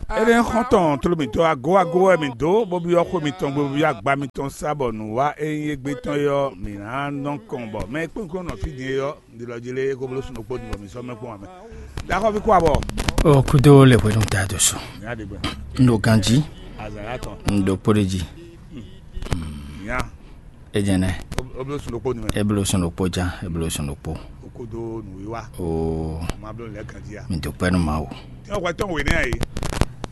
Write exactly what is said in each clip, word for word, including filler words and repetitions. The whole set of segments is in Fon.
Éɖée xɔ́ntɔn tló mǐtɔn agó agó wɛ mǐ dó, bó byɔ́ xwé mitɔn gbe, bó byɔ́ agba mitɔn sá, bɔ nǔ wa e nyí égbé tɔn é ɔ́, mǐ ná nɔ kɔn, bɔ mɛ e kpɔ́n kpɔ́n nɔ fí din é ɔ́, un ɖi lɔ jí lé, é ko bló sun ɖokpó din, bɔ mǐ sɔ́ mɛ kpɔ́n ǎ mɛ. Ɖaxɔ́ví kú abɔ. O kudo le hwenu ta do so. Mǐ á ɖe gbɛ. Un ɖo ganji. Azǎn yá tɔn. Un ɖo kpó ɖe jí. Mǐ á. Ejɛnɛ. Ó bló sun ɖokpó din mɛ. E bló sun ɖokpó jan, e bló sun ɖokpó. Ó kúdó nǔwiwa. Oo. Má bló lɛ̌ ganjí a. Mi dúpẹ́ nú Mawu. Tí wọ́n hwɛ tɔn wě nɛ́ a yě.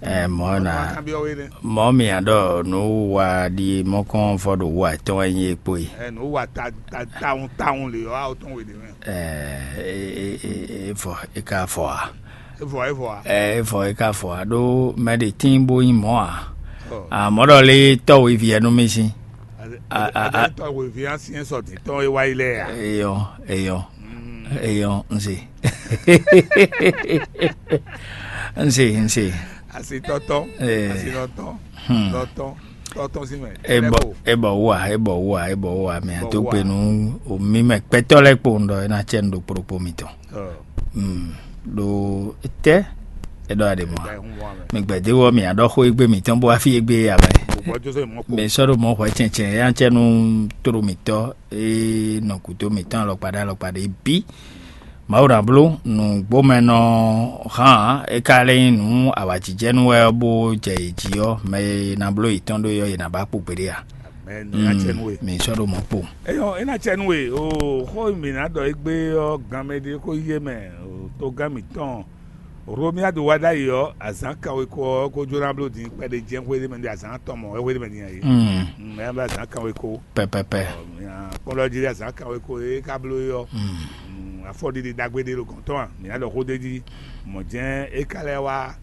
Ɛ mɔ na. Má kan byɔ́ wé nɛ́. Mɔ mi aɖɔ nǔ wa ɖi mɔkɔn vɔ ɖo wa tɔn wɛ nyi ekpo yi. Ɛ nǔ wa ta ta tawun tawun lě ɔ́, a ó tɔn wě nɛ́ mɛ. Ɛ e e e e vɔ e ka vɔ a. Evɔ evɔ a. Ɛ e vɔ e ka vɔ a ɖó mɛ ɖe tín bó nyí mɔ̌ a. Ɔ. Amɔ̌ ɖɔ lé tɔ́ wěvi ɛnu mi sín. A- a- a- Tɔ́ wěvi á syɛ́n sɔ dǐn tɔn e wá yi lɛ a. Eyɔ eyɔ eyɔ n se. N se n se. Asi tɔtɔ. Ee. Asi nɔtɔ. Hmm. Nɔtɔ tɔtɔ si mɛ. Ebɔ ebɔ wa ebɔ wa ebɔ wa mɛ Bɔ ato wa. Gbe nu omi mɛ kpɛtɔ lɛ kpo ŋdɔ ena tsɛ nu ɖo kpokpo mitɔn. Ɔ. Hmm. Ɖo tɛ eɖɔ aɖe mɔ. Ɛda ehun wa mɛ. Mi gbɛdewɔ mi aɖɔ xo egbe mitɔn bo afi egbe ya mɛ. Bɔbɔ joseph mɔ kpo. Mi sɔ ɖo mɔ hwɛ tsɛntsɛn ya tsɛ nu toro mitɔ e nɔ kuto mitɔn alɔkpa ɖe alɔkpa ɖe bi. Mawu ná bló nǔgbomɛnɔ hán é ka lɛ́ nyí nǔ awǎjijɛnú wɛ ɔ́ bó jɛ yě jí ɔ́, mɛ e ná bló yětɔn ɖó é ɔ́, yě ná ba kpo gbeɖé a? Mɛ nú ná tsɛ nú we. Mi sɔ́ ɖo mɔ̌ kpo. Eyɔ é ná tsɛ nú we o. Xó e mǐ ná ɖɔ égbé ɔ́, ganmɛ ɖé kó yí é mɛ o, togán mǐtɔn Romiadu wá ɖ'ayǐ ɔ́, azǎn kanweko ɔ́ kó jó ná bló din kpɛɖé jɛ́n xwé ɖé mɛ ɖé azǎn atɔn mɔ̌ wɛ xwé ɖé mɛ din a yě. Mm. Mm, ɛ bɛ azǎn kanweko. Pɛpɛpɛ. Kpɔ́n ɖɔ jí azǎn kanweko e ka bló é ɔ́. Mm. Mm, afɔɖiɖi ɖagbe ɖé ɖo gɔ̌n tɔn a? Mǐ ná ɖɔ xó d'é jí. Mɔ̌ jɛ́n é ka lɛ́ wá.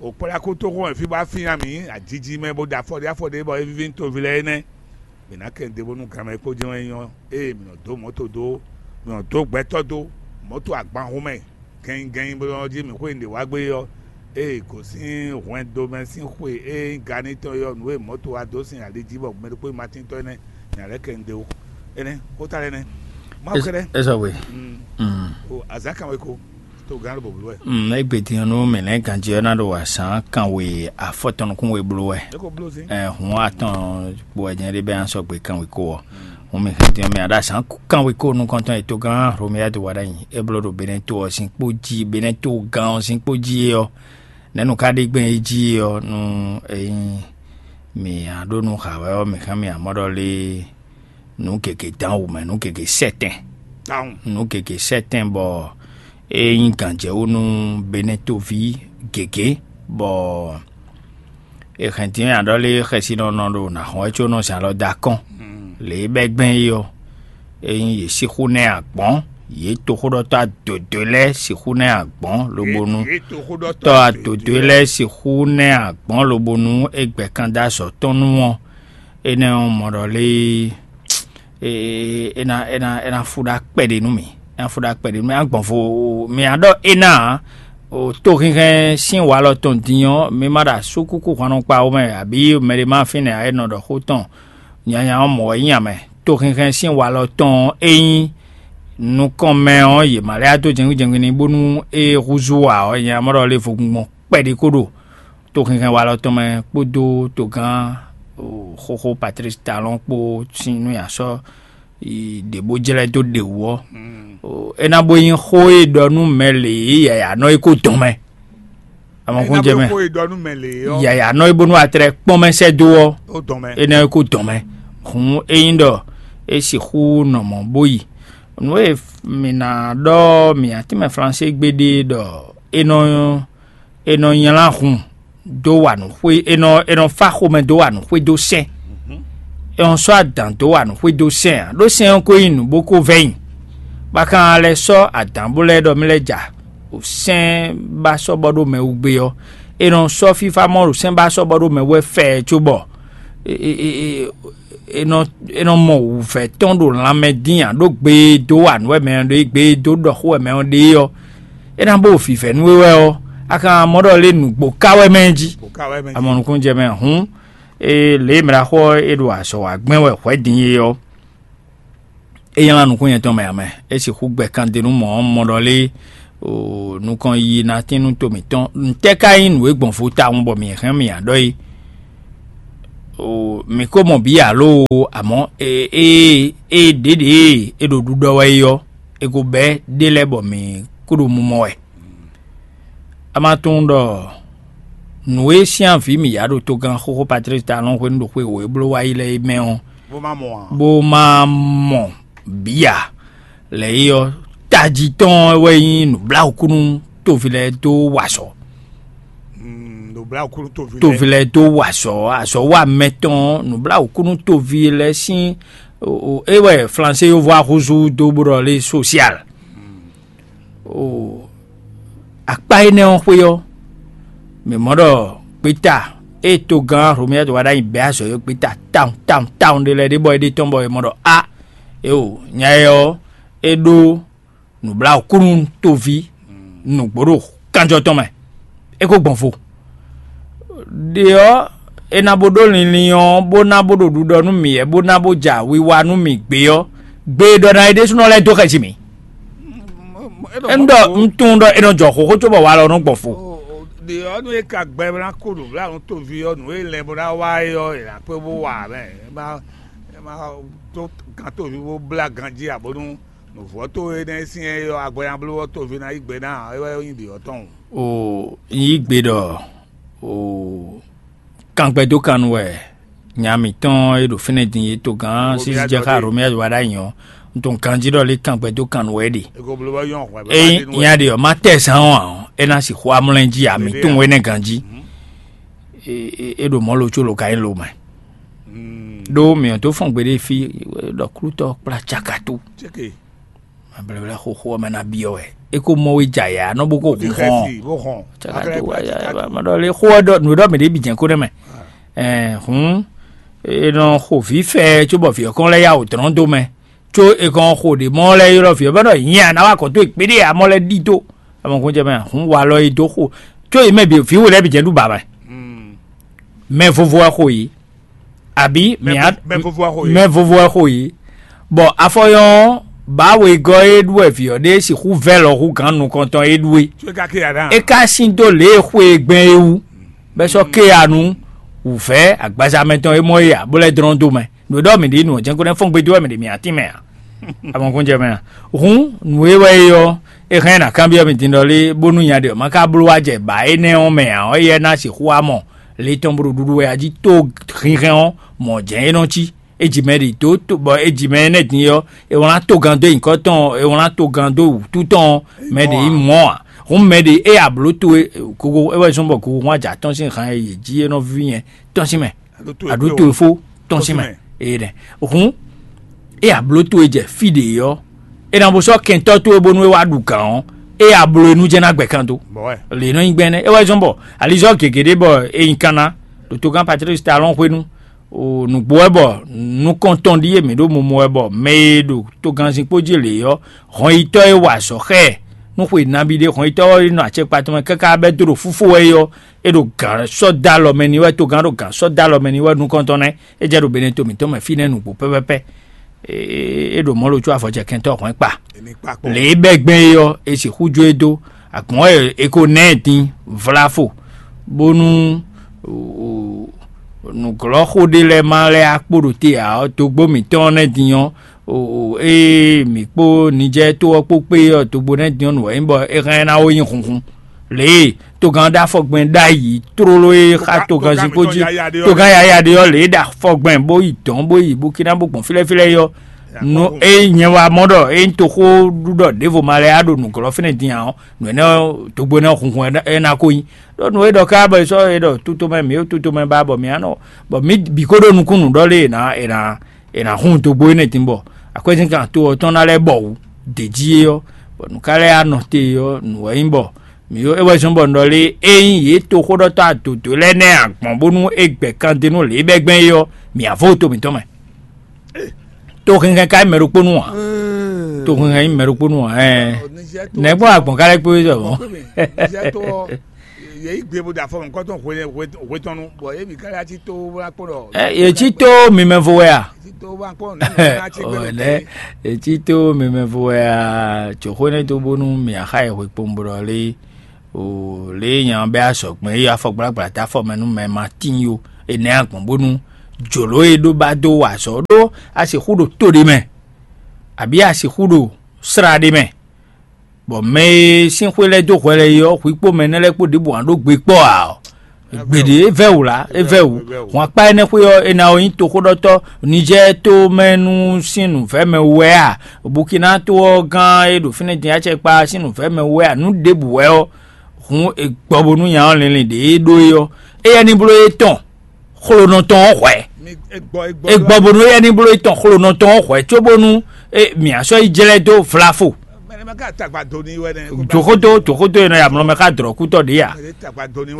Òkplá kútóxɔ́n wɛ fí bɔ afín ná mǐ ajiji mɛ bó ɖo afɔ ɖé afɔ ɖé bɔ é víví nú toví lɛ́ɛ énɛ́. Mǐ ná kɛ ɖěbǔ nú ganmɛ kpó jɛ́n wɛ nyí ɔ́, ée mǐ nɔ dó mɔ̌to dó, mǐ nɔ dó gbɛtɔ́ dó, mɔ̌to agbanhun mɛ gɛnnyigɛnnyi bó nɔ jí mǐ xwé nǔɖé wá gbé ɔ́, ée gǒsín hwɛndo mɛ sín xwe e nyí ganítɔn é ɔ́, nǔ e mɔ̌to wá dó sin ali jí bɔ mɛ ɖokpó ma tíntɔ́ énɛ́, mǐ ná lɛ́ kɛ ɖěbǔ. Énɛ́, xóta lɛ́ɛ nɛ́. Mawu kɛ́ɖɛ́. É sɔgbe. Mm. Mm. O azǎn kan wɛ ko. Tó gán ló bòbló wɛ. Mm, égbé din ɔ́, nú mǐ lɛ́ ganjí ɔ́ ná ɖo azǎn kanwe afɔtɔn nukún we bló wɛ. É ko bló zín. Ɛ hǔn atɔn kpo wɛ jɛ́n ɖé bɛ́ ná sɔgbe kanwe kó ɔ́. Hǔn mǐ hɛn din ɔ́, mǐ ná ɖo azǎn kanwe kó nukɔntɔn e togán Hlomeyadu wa ɖ'ayǐ é bló ɖo Benɛ́to ɔ́ sín kpó jí, Benɛ́to gán ɔ́ sín kpó jí é ɔ́, nɛ̌ nǔ ka ɖe gbɛn é jí é ɔ́, nú é nyí mǐ ná ɖó nú hǎ wɛ ɔ́, mǐ hɛn mì amɔ́ ɖɔ lé nǔ gěgé dán wǔ mɛ, nǔ gěgé sɛ́tɛn. Tawun. Nǔ gěgé sɛ́tɛn bɔ é nyí gǎnjɛwú nú Benɛ́toví gěgé, bɔ è hɛn din nya ɖɔ lé xɛsinɔ nɔ ɖo nǎ xɔ́n wɛ có nɔ zǎn lɔ dó akɔ́n. Mm. Lě e bɛ́ gbɛn é ɔ́, é nyí yě sixú ná ɛ agbɔ̌n, yě toxóɖɔtɔ́ adodwe lɛ́ɛ sixú ná ɛ agbɔ̌n, lobo nú Yě- yě toxóɖɔtɔ́ tɔ́ adodwe adodwe lɛ́ɛ sixú ná ɛ agbɔ̌n, lobo nú é gbɛ́ kan dó azɔ̌ tɔn nú ɔ́, énɛ́ ɔ́ mɔ ɖɔ lé é ná é ná é ná fú ɖó akpɛɖé nú mì, é ná fú ɖó akpɛɖé nú mì, é ná gbɔn vo mì á ɖɔ é ná ǎ. O tó hínhɛ́n sín walɔ tɔn din ɔ́, mi ma ɖo asúkúkú hwannɔkpawú mɛ, abǐ mɛɖé ma fínɛ́ ǎ, é nɔ ɖɔ xó tɔn nyanya ɔ́ mɔ̌ wɛ nyí amɛ. Tó hínhɛ́n sín walɔ tɔn ɔ́, é nyí nukɔn mɛ ɔ́, yě ma lɛ́ dó jɛngbí jɛngbí n'i bónú é húzú ǎ ɔ́, nyanya ma ɖɔ lé vo gbɔn kpɛɖé kó ɖo tó hɛnhɛn wa lɔ tɔn mɛ kpódó togán xóxó Patrice Talon kpó sín nú yǎ sɔ́ ɖě bó jlɛ́ dó ɖě wú ɔ́, é ná bó nyí xó e ɖɔ nú mɛ lě e yǎyá nɔ é kó dɔn mɛ. Amɔkún jɛ mɛ. Xó e ɖɔ nú mɛ lě ɔ́. Yǎyá nɔ é bónú atlɛ kpɔ́n mɛ sɛ́ dó ɔ́, ó dɔn mɛ. É ná é kó dɔn mɛ. Hǔn é nyí ɖɔ é sixú nɔ mɔ̌ bó yi. Nǔ e mǐ ná ɖɔ mǐ atínmɛ Flansé gbe ɖe ɖɔ é nɔ é nɔ nylá hun dó wa nǔ xwé é nɔ é nɔ fá xomɛ dó wa nǔ xwé dó sɛn. É nɔ sɔ́ adǎn dó wa nǔ xwé dó sɛn ǎ, ɖó sɛn ɔ́ ko nyí nǔ bó ko vɛ́ nyi. Bá kan lɛ́ sɔ́ adǎn bó lɛ́ ɖɔ mì lɛ́ ja, o sɛn bá sɔ́ bɔ ɖó mɛ wú gbé ɔ́, é nɔ sɔ́ fífá mɔ ɖo sɛn bá sɔ́ bɔ ɖó mɛ wú wɛ fɛ cóbɔ é nɔ é nɔ mɔ wǔvɛ́ tɔn ɖo lanmɛ dín ǎ, ɖó gbe e dó wa nǔ wɛ mɛ ɔ́ ɖe, gbe e dó ɖɔ xó wɛ mɛ ɔ́ ɖe ɔ́, é ná bó vǐvɛ́ nú we wɛ ɔ́, a ka mɔ ɖɔ lé nǔgbó ka wɛ mɛ jí. Amɔ nukúnnú jɛ mɛ hǔn, lě e mɛ ɖaxó ɔ́ é ɖo azɔ̌ wa gbɛn wɛ hwɛ̌ din é ɔ́, é nylá nukún nyɛtɔn mɛ ǎ mɛ. É sixú gbɛ kan din nú mɔ̌ ɔ́, mɔ ɖɔ lé O nukɔn yiyi ná tín nú to mǐtɔn. Ntɛ́ ka nyí nǔ e gbɔn vo tawun bɔ mǐ hɛn mǐ ǎ ɖɔ é? O mǐ ko mɔ bǐ alo? Amɔ̌ ée ée ɖěɖě e ɖo ɖuɖɔ wɛ é ɔ́, è ko bɛ́ ɖé lɛ́ɛ bɔ mǐ kú ɖo mumɔ wɛ. A ma tunwun ɖɔ nǔ e syɛ́nvǐ mǐ ya ɖo togán xóxó Patlísi Talɔn hwenu ɖo xwe wǒ e bló wá yi lɛ́ɛ é mɛ ɔ́, bó má mɔ ǎ? Bó má mɔ bǐ ǎ. Lɛ̌ é ɔ́, tají tɔn wɛ nyí nǔbláwǔkúnú toví lɛ́ɛ dó wa azɔ̌. Mm, nǔbláwǔkúnú toví lɛ́ɛ. Toví lɛ́ɛ dó wa azɔ̌, azɔ̌ wa mɛ tɔn nǔbláwǔkúnú toví lɛ́ɛ sín o, o, é wɛ flansé yovó axúzú dó bó ɖɔ lé sosial. O akpá énɛ́ ɔ́ xwé ɔ́, mǐ mɔ ɖɔ gbéta e togán Hlomia to wá ɖ'ayǐ bɛ́ azɔ̌ e gbéta tawun tawun tawun ɖé lɛ́ɛ ɖé bɔ é ɖe tɔn bɔ è mɔ ɖɔ a éo nya ɛ ɔ́, é ɖó nǔbláwǔkúnú toví nǔgbó ɖo kanjɔ tɔn mɛ, é ko gbɔn vo. Ɖe ɔ́, é ná bó ɖó linlin ɔ́, bó ná bó ɖo ɖuɖɔ nú mǐ wɛ, bó ná bó ja wiwa nú mǐ gbé ɔ́, gbe e ɖɔ ná é ɖésúnɔ lɛ́ɛ dó xɛsi mǐ. Énú ɖɔ un tunwun ɖɔ è nɔ jɔ xóxó cóbɔ walɔ nɔ gbɔn fo. Ɖe ɔ́ nú é ka gbɛ ná kó ɖo blánu toví ɔ́, nǔ e lɛn bó ná wa é ɔ́, è nǎ kpé bó wa mɛ. É má é má tó gán toví bó blá ganjí ǎ bónú nǔvɔ́ towe nɛ́ syɛ́n é ɔ́, agbɔnyablówɔ́ toví ná yí gbe ná ǎ, é wɛ nyí ɖě ɔ́ tɔn. O yí gbe ɖɔ o kangbɛdókannu wɛ nya mǐtɔn e ɖo fínɛ́ din é togán sísíjɛ xá Romia wa ɖ'ayǐ ɔ́, un tunwun ganjí ɖɔ lé kangbɛdókannu wɛ é ɖe. Ényí nya ɖe ɔ́, má tɛ zán ɔ́ ǎ ɔ́, é ná sixú amlɛ́ jí ǎ, mǐ tunwun énɛ́ ganjí. É ɖo mɔ̌ lo có lo ka nyí lo mɛ. Ɖó mǐ ɔ́ tó fɔn gbeɖé fí, ɖɔ klútɔ́ kplá cakatú. Mɛ blɛ́blɛ́ xóxó ɔ́ mɛ ná byɔ́ wɛ. É ko mɔ we jɛ ayǎ nɔ bó ko hun xɔ́n. Cakatú wá yá mɛ ɖɔ lé xó ɔ́ ɖɔ nǔ e ɖɔ mǐ ɖě bǐ jɛ́n kó nɛ́ mɛ. Ɛɛ hǔn è nɔ xo vǐ fɛ cóbɔ vǐ ɔ́ kɔn lɛ́ yá wǒ dlɔ́n dó mɛ. Có è kɔn xo ɖě mɔ lɛ́ɛ ylɔ́ vǐ ɔ́ bɔ ɖɔ nyɛ a ná wá kɔ tó e kpéɖé amɔ lɛ́ɛ ɖi dó. Amɔ kún jɛ mɛ hǔn walɔ e dó xo. Có yě mɛ bǐ vǐ we lɛ́ɛ bǐ jɛ́n ɖu bǎ mɛ. Mɛ vovo wɛ xo yě. Abǐ mɛ vovo wɛ xo yě. Mɛ vovo wɛ xo yě. Bɔ afɔyɔn ɔ́, bǎ wegɔ́ e ɖu wɛ vǐ ɔ́ ɖe sixú vɛ́ lɔ hú gǎn nukɔntɔn e ɖu é. É ka sín dó lě e xwe e gbɛn é wú, bɔ é sɔ́ ké ya nú wǔvɛ́ agbaza mɛtɔn e mɔ é ǎ, bó lɛ́ dlɔ́n dó mɛ. Nǔ e ɖɔ mǐ ɖe nǔ ɔ́ jɛ́n ko nɛ́ fɔ́n gbe dó wɛ mǐ ɖe mǐ atín mɛ ǎ. Amɔkúnjɛ mɛ ǎ. Hǔn nǔ e wɛ é ɔ́, é hɛn ná kanbyɔ́ mì din ɖɔ lé bónú nya ɖe ɔ́ ma ka bló wá jɛ bǎ énɛ́ ɔ́ mɛ ǎ ɔ́, éyɛ́ ná sixú wá mɔ le tɔn bó ɖo ɖuɖu wɛ a jí tó hinhɛn ɔ́, mɔ̌ jɛ́n é nɔ cí. É ji mɛ ɖi dǒ bɔ é ji mɛ énɛ́ din ɔ́, é wlán togán dó nyǐkɔ tɔn, é wlán togán dó wǔtu tɔn, mɛ ɖě nyí mɔ̌ ǎ. Hǔn mɛ ɖě é ablǒ towe gogo é wɛ zɔ́n bɔ gogo hɔn ajǎ tɔn sín han e yě jí é nɔ ví nyɛ tɔn sín mɛ. Aɖu towe fó tɔn sín mɛ. Ee ɖɛ. Hǔn é ablǒ towe jɛ fí ɖě ɔ́, é ná bó sɔ́ kɛntɔ́ towe bónú é wá ɖu gǎn ɔ́, é abló e nú jɛ́n ná gbɛ kan dó. Lě nɔ nyí gbɛn nɛ́ é wɛ zɔ́n bɔ alizɔ́ gěgé ɖé bɔ é nyí kan ná ɖo togán Patlísi Talɔn hwenu. Nǔgbó wɛ bɔ nukɔntɔn ɖíe mǐ ɖo momo wɛ bɔ mɛ e ɖo togannzin kpó jí lě ɔ́, hɔnyitɔ́ e wa azɔ̌ xá ɛ nú xwe nabí ɖé, hɔnyitɔ́ ɔ́ e nɔ acɛkpa tɔn mɛ káká bɛ́ dó ɖo fúfó wɛ é ɔ́, é ɖo gǎn sɔ́ dó alɔ mɛ n'i wɛ, togán ɖo gǎn sɔ́ dó alɔ mɛ n'i wɛ nukɔntɔn nɛ́. É jɛ ɖo Beneto mǐtɔn mɛ fínɛ́ nǔgbó pɛ́pɛ́pɛ́. É ɖo mɔ̌ lo có avɔjɛkɛntɔ́ hwɛ̌n kpa. Lě e bɛ́ gbɛn é ɔ́, è sixú jó e dó. Agbɔ̌n wɛ è ko ná ɛ din vlá fo, bónú nǔglɔ́xo ɖé lɛ́ɛ ma lɛ́ akpó ɖo te ǎ ɔ́, dógbó mǐtɔn ɔ́ nɛ́ din ɔ́, ée mǐ kpó Nijɛ́ɛ to ɔ́ kpó kpé ɔ́, dógbó nɛ́ din ɔ́ nǔ wɛ nyí bɔ é hɛn ná ó nyí hunhun. Lě e togán ɖó afɔgbɛn ɖ'ayǐ tlóló e xá togán zinkpo jí, togán yaya ɖé ɔ́, lě e ɖo afɔgbɛn bó yi dɔ̌n bó yi Bukina bó gbɔn fílɛ́fílɛ́ é ɔ́, nú é nyɛ wá mɔ ɖɔ é nyí toxóɖuɖɔ ɖěvo ma lɛ́ɛ á ɖo nǔglɔ́ fínɛ́ din ǎ ɔ́, nǔ énɛ́ ɔ́, dogbo énɛ́ ɔ́ hunhun ɛ ná ko nyí. Ɖó nǔ e ɖɔ ká bɔ è sɔ́ è ɖɔ tutomɛ mǐ ó tutomɛ ba bɔ mǐ á nɔ bɔ mǐ bǐ ko ɖó nukúnnú ɖɔ lé è nǎ è nǎ è nǎ hun dogbo énɛ́ din bɔ akwɛ́zínkan to ɔ́ tɔn ná lɛ́ bɔ wǔ d'é jí é ɔ́, bɔ nǔ ka lɛ́ anɔ te é ɔ́, nǔ wɛ nyí bɔ mǐ ɖó é wɛ zɔ́n bɔ un ɖɔ lé ényí yě toxóɖɔtɔ́ adǒdó lɛ́ɛ nɛ́ agbɔ̌n bónú é gbɛ kan d'é nú lě e bɛ́ gbɛn é ɔ́, mǐ á vó to mǐtɔn mɛ. To hinhɛn ka nyí mɛ ɖokpó nu ǎ. To hinhɛn nyí mɛ ɖokpó nu ǎ. Ɛɛ. Nɛ̌ gbɔn agbɔ̌n ka lɛ́ kpé wé zɔ mɔ̌? Yě yí gbe bó ɖo afɔ nukɔntɔn hwe hwe hwe tɔn nu, bɔ yě bǐ ká yá cí tó bó ná kpɔ́n ɖɔ. Ɛ, yě cí tó mimɛvo wɛ a? Cí tó bó ná kpɔ́n nǔ ná cí gbé Ɔ, ɖo nɛ́, tɛ́. Yě cí tó mimɛvo wɛ a? Jǒxó nɛ́ dó bónú mǐ axa yi hwe kpowun bó ɖɔ lé o, lě e nya bɛ́ azɔ̌gbɛ́n e afɔgblágbla dó afɔ mɛ nú mɛ ma tíin ó, énɛ́ a gbɔn bónú jǒló e ɖó ba dó wa azɔ̌ ɖó a sixú ɖo to ɖé mɛ, abǐ a sixú ɖo slá ɖé mɛ. Bɔ mɛ e sín xwé lɛ́ɛ dó hwɛ lɛ́ɛ é ɔ́, hwi kpó mɛ énɛ́ lɛ́ɛ kpó ɖěbǔ ǎ ɖó gbe kpɔ́ ǎ ɔ́, gbeɖé é vɛ́ wǔ lá, é vɛ́ wǔ. Hwan akpá énɛ́ xwé ɔ́, è nǎ ɔ́ nyí toxóɖɔtɔ́ Nizɛ́ɛ to mɛ nú sín nǔvɛ́mɛ wú wɛ a? Bukina to ɔ́ gán e ɖo fínɛ́ din acɛkpá sín nǔvɛ́mɛ wú wɛ a? Nǔ ɖěbǔ wɛ ɔ́, hǔn è gbɔ bónú nya ɔ́ linlin ɖě é ɖó é ɔ́, éyɛ́ ní bló é tɔn xlonɔ tɔn ɔ́ hwɛ̌. È gbɔ bónú éyɛ́ ní bló é tɔn xlonɔ tɔn ɔ́ hwɛ̌ cóbónú mǐ sɔ́ yi jlɛ́ dó vlafo. Jǒxódó jǒxódó e nɔ yi amlɔ mɛ xá dlɔ̌kútɔ́ ɖě a?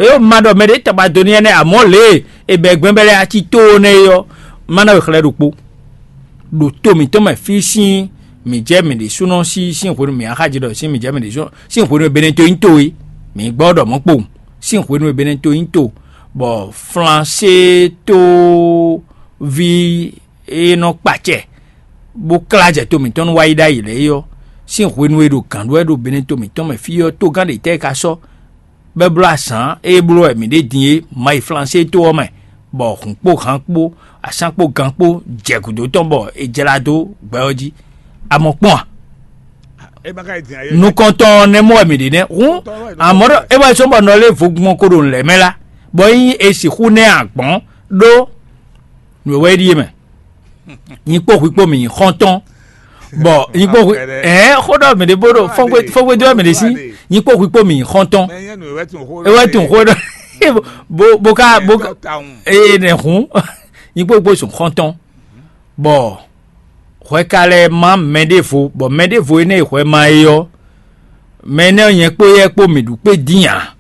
É ma ɖɔ mɛ ɖě tagba do n'i énɛ́, amɔ̌ lě e è bɛ̌ gbɛ́n bɛ́ lɛ́ɛ ací tóó nɛ́ é ɔ́, má ná we xlɛ́ ɖokpó. Ɖo to mǐtɔn mɛ fí sín mǐ jɛ mǐ ɖésúnɔ sí sín hwenu mǐ axájí ɖɔ sín mǐ jɛ mǐ ɖésúnɔ sín hwenu e Benɛto nyí to é, mǐ gbɔ ɖɔ mɔ̌ kpowun sín hwenu e Benɛto nyí to, bɔ Flansée tóví e nɔ kpacɛ bó klá jɛ to mǐtɔn nú wá yi ɖ'ayǐ lɛ́ɛ é ɔ́, sín hwenu e ɖo gǎn ɖó wɛ ɖo Benɛto mǐtɔn mɛ fí ɔ́, togán ɖě tɛ́ e ka sɔ́ bɔ é bló azǎn e bló wɛ mǐ ɖe din é ma yi Flansée to ɔ́ mɛ, bɔ hǔn kpó han kpó asán kpó gan kpó jɛ gǔdo tɔn bɔ è jlá dó gbɛ ɔ́ jí. A mɔ kpɔ́n a? Nukɔntɔn ɔ́ nɛ́ mɔ wɛ mǐ ɖe nɛ́ hǔn, amɔ̌ ɖɔ é wɛ sɔ́ bɔ nɔ lé vogbɔn ko ɖo nǔ lɛ́ɛ mɛ lá, bɔ ényí è sixú nɛ́ ǎ gbɔn ɖó nǔ e wɛ é ɖíe mɛ. Nyi kpó hwi kpó mǐ nyí xɔ́ntɔn, bɔ nyi kpó hwi ɛɛ xó ɖɔ mǐ ɖe bó ɖo fɔ́ngbé fɔ́ngbé dó wɛ mǐ ɖe sí. Nyi kpó hwi kpó mǐ nyí xɔ́ntɔn. É wɛ tunwun xó ɖɔ bó bó ká bó eye nɛ hǔn. Nyi kpó hwi kpó sùn xɔ́ntɔn, bɔ hwɛ ka lɛ́ má mɛ ɖěvo, bɔ mɛ ɖěvo énɛ́ e hwɛ ma é ɔ́, mɛ énɛ́ ɔ́ nyɛ kpó yɛ kpó mǐ ɖu kpé dín ǎ.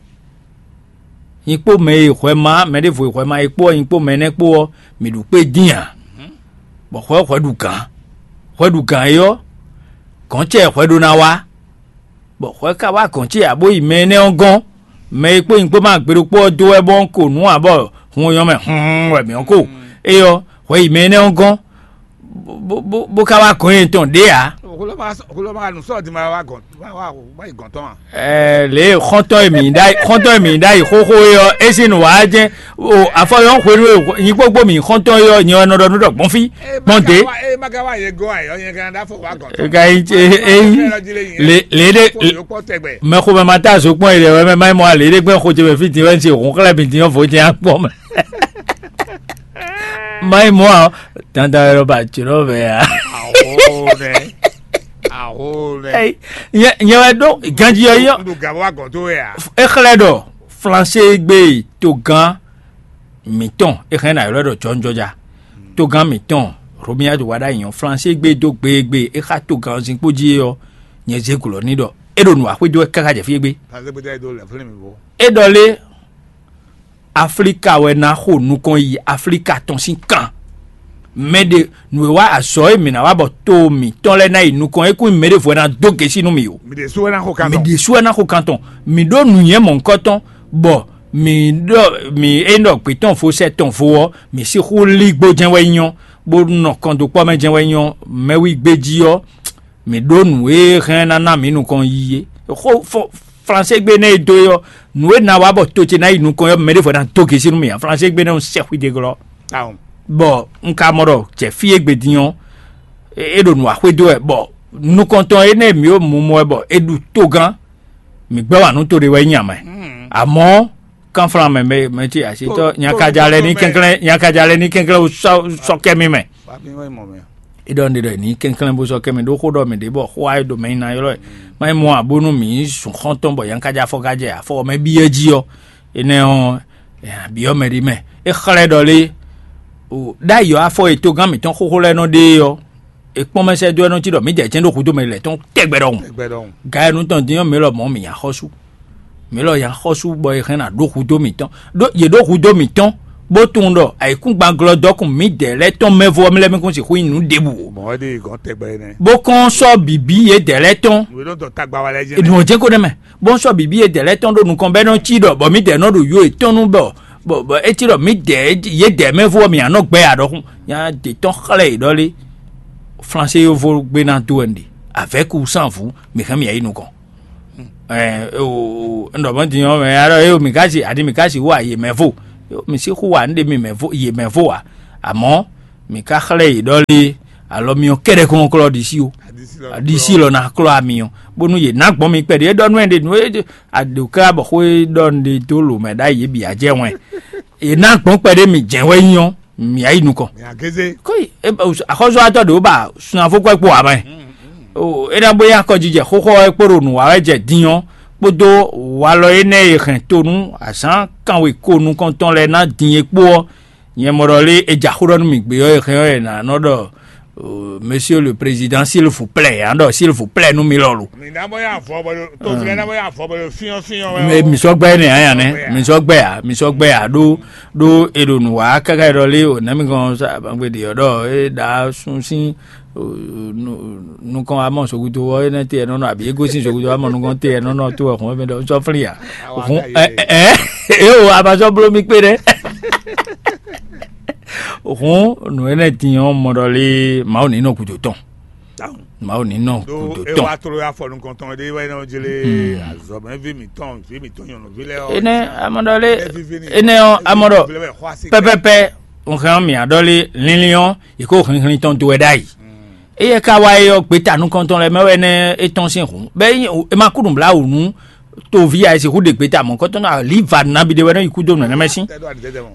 Nyi kpó mɛ e hwɛ ma mɛ ɖěvo e hwɛ ma é kpó ɔ́, nyi kpó mɛ énɛ́ kpó ɔ́, mǐ ɖu kpé dín ǎ. Bɔ hwɛ hwɛ ɖu gǎn, hwɛ ɖu gǎn é ɔ́, gɔ̌n ce hwɛ ɖó ná wá, bɔ hwɛ ka wá gɔ̌n ce ǎ bó yi mɛ énɛ́ ɔ́ gɔ́n. Mɛ e kpó nyi kpó ma gbe ɖokpó ɔ́ dó wɛ bɔ un ko nǔ ǎ bɔ hun ɔ́ nyɔ́ mɛ hun wɛ mǐ ɔ́ ko. É ɔ́, hwɛ yi mɛ énɛ́ ɔ́ gɔ́n, bó ka wá gɔ̌n nyi tɔn ɖě ǎ. Lě e xɔ́ntɔn e mǐ ɖ'ayǐ xɔ́ntɔn e mǐ ɖ'ayǐ xóxó é ɔ́, é sín nǔ wa jɛ́n. O afɔ yɔ́n hwenu e nyí gbogbo mǐ xɔ́ntɔn é ɔ́, nyɛ wɛ nɔ ɖɔ nú ɖɔ gbɔn fí gbɔn dě. Ka yi ényí lě lě ɖé mɛxomɛ ma ta zo kpɔ́n yi ɖe wɛ mɛ ma yi mɔ a lě ɖé gbɛ́ xo ce mɛ fí din wɛ un se hǔn xlɛ́ mi din ɔ́ vo jɛ́n akpɔ́ mɛ. Má yi mɔ a, dandan wɛ lɔ ba jǒnɔ vɛ a. Aho nɛ. Aho nɛ. Nyɛ nyɛ wɛ ɖó ganjí ɔ́ yɔ. Ɖo gǎn wa gɔ̌n tó wɛ a. É xlɛ́ ɖɔ flansé gbé togán mǐtɔn é hɛn ná ylɔ́ ɖɔ jɔnjɔja. Togán mǐtɔn Romia ɖo wa ɖ'ayǐ ɔ́, flansé gbé dó gbeegbe é xá togán ɔ́ zinkpo jí é ɔ́, nyɛ zé glɔ̌ n'i ɖɔ é ɖo nǔ wa xwedó wɛ káká jɛ fí égbé. Flansé gbé dó lɛ fúnni mi bó. É ɖɔ lé Aflíka wɛ ná xo nukɔn yi Aflíka tɔn sín kan. Mɛ ɖe nǔ e wá azɔ̌ e mǐ ná wa bɔ to mǐtɔn lɛ́ɛ ná yi nukɔn é kún nyí mɛ ɖěvo wɛ ná dó gěsí nú mì o. Mǐ ɖésú wɛ ná xo kan mǐ tɔn. Ɖésú wɛ ná xo kan tɔn. Mǐ ɖó nǔnywɛ́ mɔ̌hunkɔtɔn, bɔ mǐ ɖɔ mǐ é ɖɔ gbě tɔn vo sɛ tɔn vo ɔ́, mǐ sixú lí gbó jɛ́n wɛ nyɔ́, bó nɔ kɔn dó kpɔ́ mɛ jɛ́n wɛ nyɔ́. Mɛwígbé jí ɔ́, mǐ ɖó nǔ e hɛn ná ná mǐ nukɔn yi é. Xó fɔ flansé gbe nɛ́ e dó é ɔ́, nǔ e ná wa bɔ to ce ná yi nukɔn ɔ́, mɛ ɖěvo ná dó gěsí nú mì ǎ. Flansé gbe nɛ́ ɔ́ sɛ xwídégɔ́. Bɔ un ka mɔ ɖɔ jɛ fí e gbe din ɔ́, é ɖo nǔ wa xwedó wɛ, bɔ nukɔntɔn énɛ́ e mǐ ɖo mumɔ wɛ bɔ é ɖu togán, mǐ gbɛ́ wǎ nú to ɖé wɛ nyí amɛ. Amɔ̌, kánflán mɛ mɛ mɛ ce asitɔ nyakaja lɛ ní kɛnklɛ́n nyakaja lɛ ní kɛnklɛ́n sɔ kɛ mi mɛ. Idɔ ne ɖɔ ní kɛnklɛ́n bó sɔ kɛ mi ɖó xó ɖɔ mi ɖě bɔ xó ayé ɖo mɛ nyina ylɔ́ ɛ. Má nyí mɔ abónú mǐ sun xɔ́ntɔn bɔ nyakaja afɔ gajɛ afɔ mɛ byɔ́ jí ɔ́, énɛ́ ɔ́, byɔ́ mɛ ɖé mɛ. É xlɛ́ ɖɔ lé ɖ'ayǐ ɔ́ afɔ e togán mǐtɔn xóxó lɛ́ɛ nɔ ɖe é ɔ́, è kpɔ́n mɛ sɛ́ dó ɛ nɔ cí ɖɔ mǐ jɛ jɛ́n ɖó hudó mɛ lɛ́ tɔn tɛgbɛ ɖɔhun. Ga e nú tɔn dín ɔ́ mǐ lɔ mɔ̌ mǐ nya xɔ́sú. Mǐ lɔ nya xɔ́sú bɔ è hɛn ná ɖó hudó mǐtɔn. Ɖó yě ɖó hudó mǐtɔn bó tunwun ɖɔ ayǐkúngban glɔ́ dɔkun mǐdɛɛ lɛ́ɛ tɔn mɛ vɔ lɛ́ɛ mɛ kún sixú nyí nǔ ɖěbǔ o. Mɔ̌ ɖe gɔ̌n tɛgbɛ nɛ́. Bó kɔn sɔ́ bǐbí yědɛɛ lɛ́ɛ tɔn. Nǔ e nɔ dɔn tagba wa lɛ́ɛ jɛ́n. Nǔ ɔ́ jɛ́n ko ɖ'é mɛ, bó sɔ́ bǐbí yědɛɛ lɛ́ɛ tɔn ɖó nukɔn bɔ é nɔ cí ɖɔ bɔ mǐdɛɛ nɔ ɖo yo yětɔn nu bɔ bɔ bɔ é cí ɖɔ mǐdɛɛ yědɛɛ mɛ vɔ mǐ nɔ gbɛ ǎ ɖɔhun. Nya ɖě tɔn xlɛ́ yě ɖɔ lé. Flansé yovo gbe ná dó wɛ un ɖe. Avec ou sans vous, mǐ hɛn mǐ yi nukɔn. Ɛɛ o un ɖɔ mɔ̌ din ɔ́ mɛ alɔ e o mǐ ka si adi mǐ ka si wú a yě mɛ vo. Mǐ sixú wa un ɖe mi mɛ vo yě mɛ vo ǎ. Amɔ̌ mǐ ka xlɛ́ yě ɖɔ lé. Alɔ mi ɔ́ kɛ́ɖɛ́ kɔn klɔ́ ɖisí o. Ɖisí lɔ ná klɔ́ ami ɔ́ bónú yě ná gbɔn mi kpɛɖé é ɖɔ nú ɛ ɖe nǔ e aɖǒká bɔ xó e ɖɔ un ɖe dó lǒ mɛ ɖ'ayǐ yě bǐ á jɛ wɛn. Yě ná gbɔn kpɛɖé mi jɛ̌n wɛ nyí ɔ́, mǐ yi nukɔn. Kóyi axɔ́zɔ́watɔ́ ɖě wó ba sunafókwɛ́ kpo ǎ mɛ. É ná bó nyí akɔjijɛ xóxó ɔ́ é kpo ɖo nǔ wa wɛ jɛ din ɔ́, kpódó walɔ énɛ́ e hɛn to nú azǎn kanwe ko nukɔntɔn lɛ́ɛ ná din é kpó ɔ́, nyɛ mɔ ɖɔ lé é ja xó ɖɔ nú mì gbé ɔ́ e hɛn ɔ́ è nǎ nɔ ɖɔ Monsieur le Président, s'il vous plaît, ǎ ɖɔ s'il vous plaît nú mi lɔlu. Mi ná mɔ yá avɔ bɔ tó fi ná mɔ yá avɔ bɔ fyɔn fyɔn wɛ. Mi sɔ gbɛ ne anya ne, mi sɔ gbɛ a, mi sɔ gbɛ a ɖó ɖó e ɖo nǔ wa káká ɖɔ lé o nɛmi gɔn sa gbangbe ɖe ɔdɔ e ɖa sun sín nukɔn amɔ sogudo wɔ enɛ te ɛnɔnɔ abi ego sín sogudo amɔ nukɔn te ɛnɔnɔ to ɛhun ɛmɛ ɖɔ sɔ fli a hun ɛ ɛ e o abasɔ blo mi kpe ɖɛ. Hǔn nǔ énɛ́ din ɔ́ mɔ ɖɔ lé Mawu ní nɔ gǔdo tɔn. Mawu ní nɔ gǔdo tɔn. Wa tló afɔ nukɔntɔn ɖé wɛ nɔ jlé azɔmɛví mǐtɔn ví mǐtɔn nyɔ̌nuví lɛ́ɛ ɔ́. Énɛ́ amɔ ɖɔ lé énɛ́ ɔ́ amɔ ɖɔ pɛpɛpɛ un hɛn ɔ́ mǐ aɖɔ lé linlin ɔ́ yi kó hinhlin tɔn do wɛ ɖ'ayǐ. Éyɛ́ ka wá é ɔ́ gbeta nukɔntɔn lɛ́ɛ mɛ wɛ nɛ́ é tɔ́n sín hǔn bɛ́ é ma kú nǔbláwǔ nú toví a e sixú ɖe gbeta mɔ̌kɔtɔn ná liva nabí ɖé wɛ nɔ yi kú dó nǔ énɛ́ mɛ sín.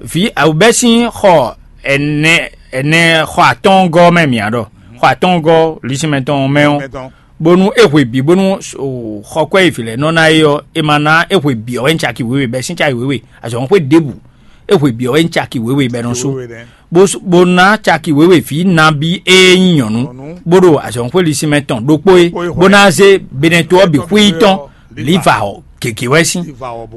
Vǐ awubɛ́ sín xɔ ɛnɛ ɛnɛ xɔ atɔ́ɔ́ngɔ́ mɛ mǐ aɖɔ xɔ atɔ́ɔ́ngɔ́ lisinmɛ tɔn mɛ ɔ́ bónú é hwe bǐ bónú xɔkwɛ́ e vǐ lɛ́ɛ nɔ ná é ɔ́, è ma ná é hwe bǐ ɔ́ wɛ nyí caki wěwe bɛ́ sín caki wěwe azɔ̌xwé ɖěbǔ. É hwe bǐ ɔ́ wɛ nyí caki wěwe bɛ́ nɔ sú. Bó ná caki wěwe vǐ nabí e nyí nyɔ̌nu bó ɖo azɔ̌xwé lisinmɛ tɔn ɖokpó é bó ná zé benɛto ɔ́ bǐ xwí tɔn liva ɔ́ gěgé wɛ sín.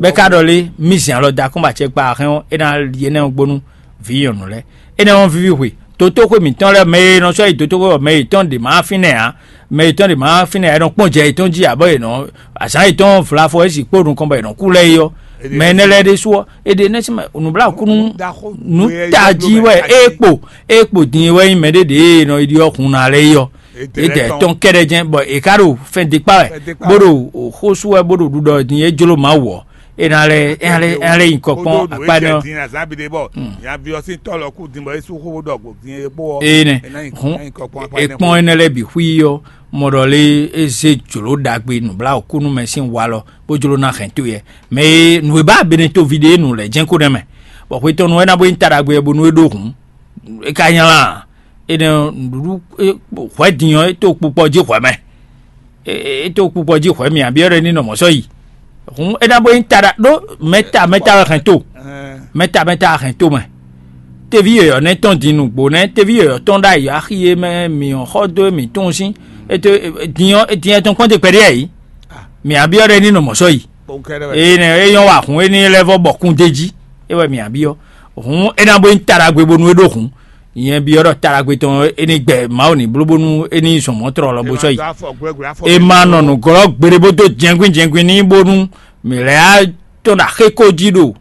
Bɛ́ ka ɖɔ lé mí zɛn alɔ da kɔn ba acɛ kpa axɛ́n ɔ́ é ná li énɛ́ ɔ́ gbónú vǐ nyɔ̌nu lɛ́ɛ. Énɛ́ ɔ́ víví hwe dotóxwé mǐtɔn lɛ́ɛ mɛ e nɔ sɔ́ yi dotóxwé ɔ́ mɛ yětɔn ɖě má fínɛ́ ǎ. Mɛ yětɔn ɖě má fínɛ́ ǎ é nɔ kpɔ́n jɛ yětɔn jí ǎ bɔ yě nɔ azǎn yětɔn vlafɔ é sixú kpó nukɔn bɔ yě nɔ kú lɛ́ɛ é ɔ́. Mɛ énɛ́ lɛ́ɛ ɖésú ɔ́ é ɖe nɛ́ sín mɛ nǔbláwǔkúnú nǔ tají wɛ é kpo é kpo din wɛ nyí mɛɖé ɖě e nɔ yi ɖi ɔ́ hun ná lɛ́ɛ é ɔ́. Édɛɛ tɔn kɛ́ɖɛ́ jɛ́n bɔ è ká ɖo fɛn dikpá wɛ bó ɖo xó sú wɛ bó ɖo ɖuɖɔ din é jló Mawu ɔ́. É ná lɛ́ é ná lɛ́ é ná lɛ́ nyi kɔ kpɔ́n akpá énɛ́ ɔ́. Nyaví ɔ́ sín tɔ́ lɔ kú din bɔ é sú xó bó ɖɔ gbǒ din é kpó ɔ́. Énɛ́ hǔn è kpɔ́n énɛ́ lɛ́ɛ bǐ xwí ɔ́ mɔ ɖɔ lé é zé jlǒ ɖagbe nǔbláwǔkúnú mɛ sín walɔ bó jló ná hɛn towe. Mɛ e nǔ e ba Benetóví ɖe nǔ lɛ́ɛ jɛ́n ko nɛ́ mɛ, bɔ hwetɔ́nu wɛ ná bó nyí ta ɖagbe bónú é ɖó hǔn. É ka nylá ǎ. Énɛ́ ɔ́, nǔɖuɖu hwɛ̌ din ɔ́, é tó kpukpɔ jí hwɛ̌ mɛ. É tó kpukpɔ jí hwɛ̌ mì abyɔ́ ɖɔ ní nɔ mɔ̌ sɔ́ yi. Hǔn é ná bó nyí ta ɖa ɖó mɛta mɛta wɛ hɛn to. Mɛta mɛta hɛn to mɛ. Teví yɔ̌yɔ́ nɛ́ tɔn din nǔgbó nɛ́ teví yɔ̌yɔ́ tɔn ɖ'ayǐ axi e mɛ mǐ ɔ́ xɔ dó e mǐ tunwun sín. Din ɔ́ din ɛ tɔn kpɔ́n te kpɛɖé yɛ yǐ. Mǐ abyɔ́ ɖɔ é ní nɔ mɔ̌ sɔ́ yi. Énɛ́ é nyɔ́ wa hǔn éní lɛ́ɛ vɔ bɔ kún d'é jí. É wɛ mǐ abyɔ́. Hǔn é ná bó nyí ta ɖagbe bónú é ɖó hǔn. Nyɛ byɔ́ ɖɔ ta ɖagbe tɔn é ní gbɛ Mawu ní bló bónú é ní zɔn mɔ̌ tlɔlɔ bó sɔ́ yi. É ma nɔ nǔglɔ́ gbeɖé bó dó jɛnkwín jɛnkwín n'i bónú mǐ lɛ́ á tɔn ɖo axéko jí ɖo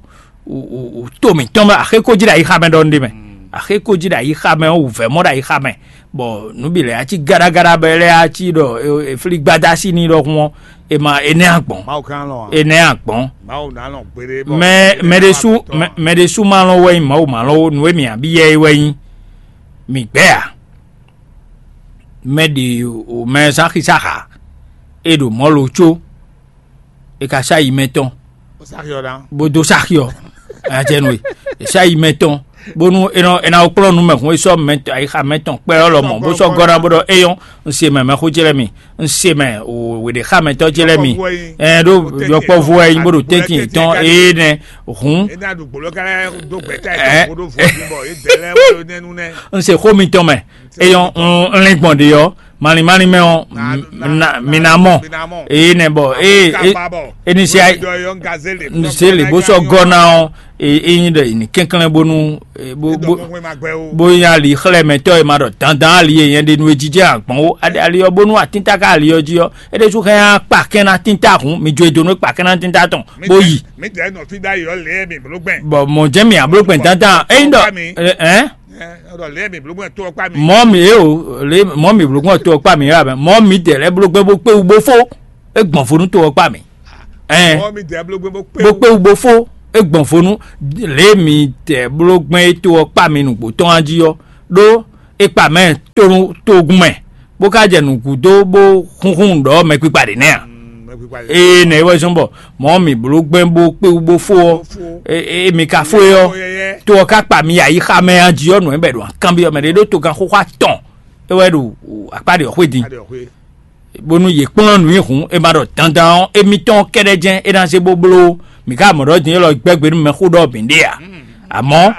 to mǐtɔn mɛ axéko jí ɖo ayixa mɛ ɖɔ un ɖe mɛ. Axéko jí ɖo ayixa mɛ wǔvɛ́ mɔ ɖo ayixa mɛ. Bɔ nǔ bǐ lɛ́ɛ á cí gáɖágáɖá bɔ é lɛ́ɛ á cí ɖɔ è flí gbadá sí n'i ɖɔhun ɔ́, è ma è nɛ́ agbɔ̌n. È nɛ́ agbɔ̌n. Mɛ mɛ ɖésú mɛ ɖésú ma lɔn wɛ nyí Mawu ma lɔn ó, nǔ e mǐ abí yɛ é wɛ nyí. Mǐ gbɛ́ ǎ. Mɛ ɖě o mɛ zán xísáxa, è ɖo mɔ̌ lo có. È ka sá yi mɛ tɔn bó dó sáxi ɔ́. Ayatɛnu e è sá yi mɛ tɔn bónú è nɔ è nɔ kplɔ́n nú mɛ hun é sɔ́ mɛ ayixa mɛ tɔn kpɛ ɔ́ lɔmɔ̌ bó sɔ́ gɔ́ ná bó ɖɔ éyɔ́. Un se mɛ mɛxó ce lɛ́ɛ mi, un se mɛ wěɖexámɛtɔ́ ce lɛ́ɛ mi. Ɛn ɖó yɔkpɔ́vú wɛ nyí bó ɖo tɛ́ntin yětɔn éé nɛ́. Hǔn un se xó mitɔn mɛ. Éyɔ́ un lɛ́n gbɔn ɖě ɔ́ Malin malin mɛ ɔ́, mi ná mɔ. Eye nɛ bɔ eye eni se ayi se le bó sɔ́ gɔ́ ná ɔ́, eye nyi ɖɔ yi ní kɛnklɛ́n bónú bó bó nyi ali xlɛ́ mɛ tɔ́ e ma ɖɔ dandan ali e nyɛ ɖe nú e jijɛ agbɔn ó. Ali ɔ́ bónú atínta ká ali ɔ́ jí ɔ́, é ɖésú hɛn á kpa kɛn ná tínta hǔn mi jó e dó nú e kpa kɛn ná tínta tɔn bó yi. Mi dɛ nɔ fi ɖ'ayǐ ɔ́ lě mi bló gbɛn. Bɔ mɔ jẹ́ mi abló gbɛn dandan ényí ɖɔ ɛ ɛ Ɛ, ɔdɔ lě mi bló gbɛn tó ɔkpa mi. Mɔ mi e o le mɔ mi bló gbɛn tó ɔkpa mi yà mɛ mɔ mi dɛ lɛ bló gbɛn bó kpé wú bó fó. E gbɔn fó nú tó ɔkpa mi. Ɛ Mɔ mi dɛ bló gbɛn bó kpé bó kpé wú bó fó. E gbɔn fó nú le mi dɛ bló gbɛn e tó ɔkpa mi nǔgbó tɔn jí ɔ́ ɖó e kpa mɛ tónú tógun mɛ bó ká jɛ nǔgúdó bó xúnxún ɖɔ mɛkpikpa ɖě nɛ́ a. Ee nɛ é wɛ zɔ́n bɔ mɔ̌ mǐ bló gbɛn bó kpé wú bó fó ɔ́, e mi ka fó é ɔ́, to ɔ́ ka kpa mi ayixa mɛ a jí ɔ́ nǔ e bɛ ɖo kanbyɔ́ mɛ ɖé ɖó togan xóxó atɔn é wɛ ɖo akpá ɖě ɔ́ xwé din. Bónú yě kplɔ́n nǔ nyi hǔn è ma ɖɔ dandan ɔ́, émítɔn kɛ́ɖɛ́ jɛ́n é ná zé bó bló. Mǐ ka mɔ ɖɔ din élɔ́ gbɛ́ gbe nú mɛxó ɖɔ bǐ ɖe ǎ. Amɔ̌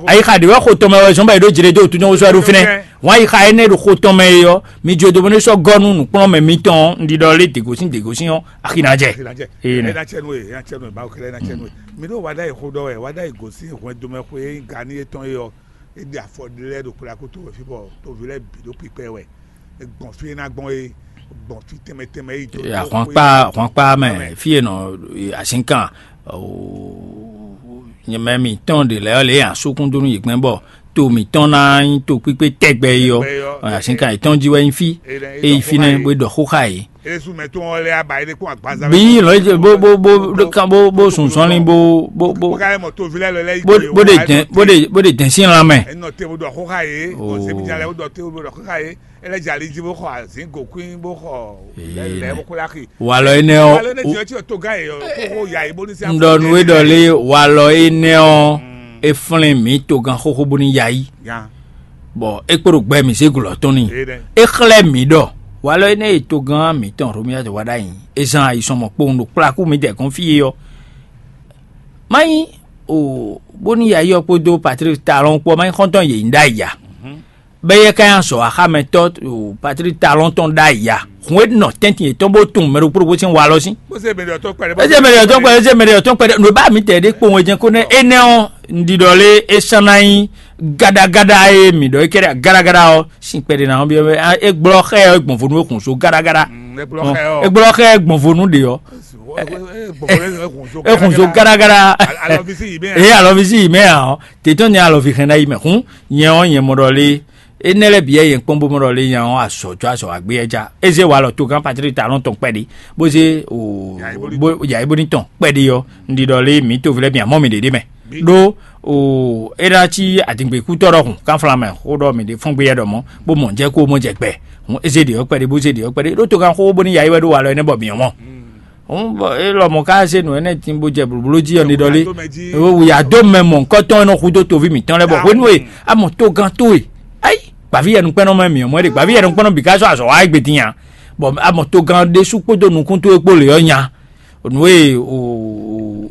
ayixa ɖě wɛ xo tɔn mɛ wɛ zɔ́n bɔ è ɖó jlé dó tún nyɔ́ wosɔ ɖó fínɛ́. Hwan ayixa énɛ́ ɖo xo tɔn mɛ é ɔ́, mi jó dó bónú sɔ́ gɔ́ nú nǔkplɔ́nmɛ mitɔn un ɖiɖɔ lé děgosín děgosín ɔ́, axi ná jɛ. Ee nɛ. Ena cɛ nú e, ena cɛ nú e, Mawu kɛlɛ ena cɛ nú e. Mi ɖo wa ɖ'ayǐ xó ɖɔ wɛ, wa ɖ'ayǐ gosín hwɛndo mɛ xwe e nyí ga ní étɔn é ɔ́, é ɖe afɔ ɖé lɛ́ɛ ɖo kplá kúto wɛ fí bɔ toví lɛ́ɛ bǐ ɖo kpikpɛ wɛ. Gbɔn fí e ná gbɔn é, gbɔn fí tɛnmɛ tɛnmɛ é yi dó. Ahwankpá ahwankpá mɛ fí e nɔ azinkan nyɛmɛ mitɔn ɖe lɛ́ɛ lě asúkún dó nú yě gbɛn bɔ to mitɔn ná nyí to kpíkpé tɛgbɛ yi ɔ́. Azinkan yětɔn jí wɛ nyí fí é yi fínɛ́ bó ɖɔ xó xá yě. Esu mɛ tó wọn lé aba yi ɖe kpɔn agbaza. Bí lɔ bó bó bó bó bó bó sùn sɔnlin bó bó bó bó ka yɛ mɔ tovi lɛ lɛ yi bó bó de dɛn bó de bó de dɛn sín lan mɛ. Enɔ te wo dɔ xó xá yé. Ɔ sɛbi jalɛ wo dɔ te wo dɔ xó xá yé. Ele jali ji bó xɔ azin gokun bó xɔ lɛ bó kó laki. Walɔ énɛ́ ɔ́. Walɔ énɛ́ jɔ tí o tó gá yé ɔ kó xó ya yé bó ní sí. Ŋɖɔ nu é ɖɔ lé walɔ énɛ́ ɔ́. É flɛ́n mǐ togán xóxó bónú ya yí. Bɔ é kpo ɖo gbɛ mǐ zé glɔ̌ tɔn n'i. É xlɛ́ mǐ ɖɔ walɔ énɛ́ e togán mǐtɔn Romia wá ɖ'ayǐ. É zán ayi sɔn mɔ kpowun ɖo kplákú mǐdɛɛ gɔ́n fí é ɔ́. Má nyí o bónú ya yí ɔ́ kpódó Patlík Talɔn kpó ɔ́, má nyí xɔ́ntɔn yě nyí ɖ'ayǐ a? Bɛ́ yɛ ká nyi azɔ̌ axámɛtɔ́ o Patlík Talɔn tɔn ɖ'ayǐ a? Hǔn e nɔ tɛ́ntin yětɔn bó tunwun mɛ ɖokpó ɖokpó sín walɔ sín. Bó ṣe mɛ ɖě ɔtɔn kpɛɖé. Bó ṣe mɛ ɖě ɔtɔn kpɛɖé, bó ṣe mɛ ɖě ɔtɔn kpɛɖé. Nǔ e bá mǐ tɛ ɖé kpowun é jɛ́n kó nɛ́ énɛ́ ɔ́, un ɖiɖɔ lé é sán ná nyí gáɖágáɖá e mǐ ɖɔ é kɛ́ɖɛ́ gáɖágáɖá ɔ́ sín kpɛɖé ná ɔ́ byɔ́ é gblɔ́ xá ɛ ɔ́ gbɔn vo nú é xun so gáɖágáɖá. É gblɔ́ xá ɛ ɔ́. É gblɔ́ xá ɛ gbɔn vo nú ɖě ɔ́. É xun so gáɖágáɖá. Alɔvísí yìí mɛ. Ee alɔvísí yìí mɛ ǎ ɔ́, tètè ní alɔví hɛn ná yi mɛ hún nyɛ ɔ́ nyɛ mɔ ɖɔ lé. Énɛ́ lɛ́ɛ bǐ yɛ yɛn kpɔ́n bó mɔ ɖɔ lé nya ɔ́ azɔ̌ jó azɔ̌ wá gbé yɛ já. É zé walɔ togán Patlík Talɔn tɔn kpɛɖé, bó zé o bó yǎyí bó ní tɔn kpɛɖé ɔ́, un ɖi ɖɔ lé mǐ toví lɛ́ɛ bǐ amɔ́ mǐ ɖě ɖé mɛ. Ɖó o é ná cí adǐngběkútɔ́ ɖɔhun kánflán mɛ xó ɖɔ mǐ ɖě fɔ́n gbé yɛ ɖɔ mɔ̌, bó mɔ jɛ kó bó mɔ jɛ gbɛ. Hǔn é zé ɖě ɔ́ kpɛɖé bó zé ɖě ɔ́ kpɛɖé ɖó togán xóxó bó ní yǎyí wɛ ɖó walɔ énɛ́ bɔ mǐ ɔ́ mɔ. Hǔn bɔ é lɔmɔ̌ ká zé nǔ énɛ́ din bó jɛ blǒbló jí ɔ́, ní ɖɔ lé wǔyá dó mɛ mɔ̌hunkɔtɔn e nɔ hudó toví mǐtɔn lɛ́ɛ bɔ hwenu e a mɔ togán towe, ayi, gbǎví yɛnukpɛ́nɔ mɛ mǐ ɔ́ mɔ é ɖe, gbǎví yɛnukpɛ́nɔ bǐ ká sɔ́ azɔ̌ wa égbé din ǎ, bɔ a mɔ togán ɖésú kpódó nukún towe kpó lě ɔ́ nya. Nǔ e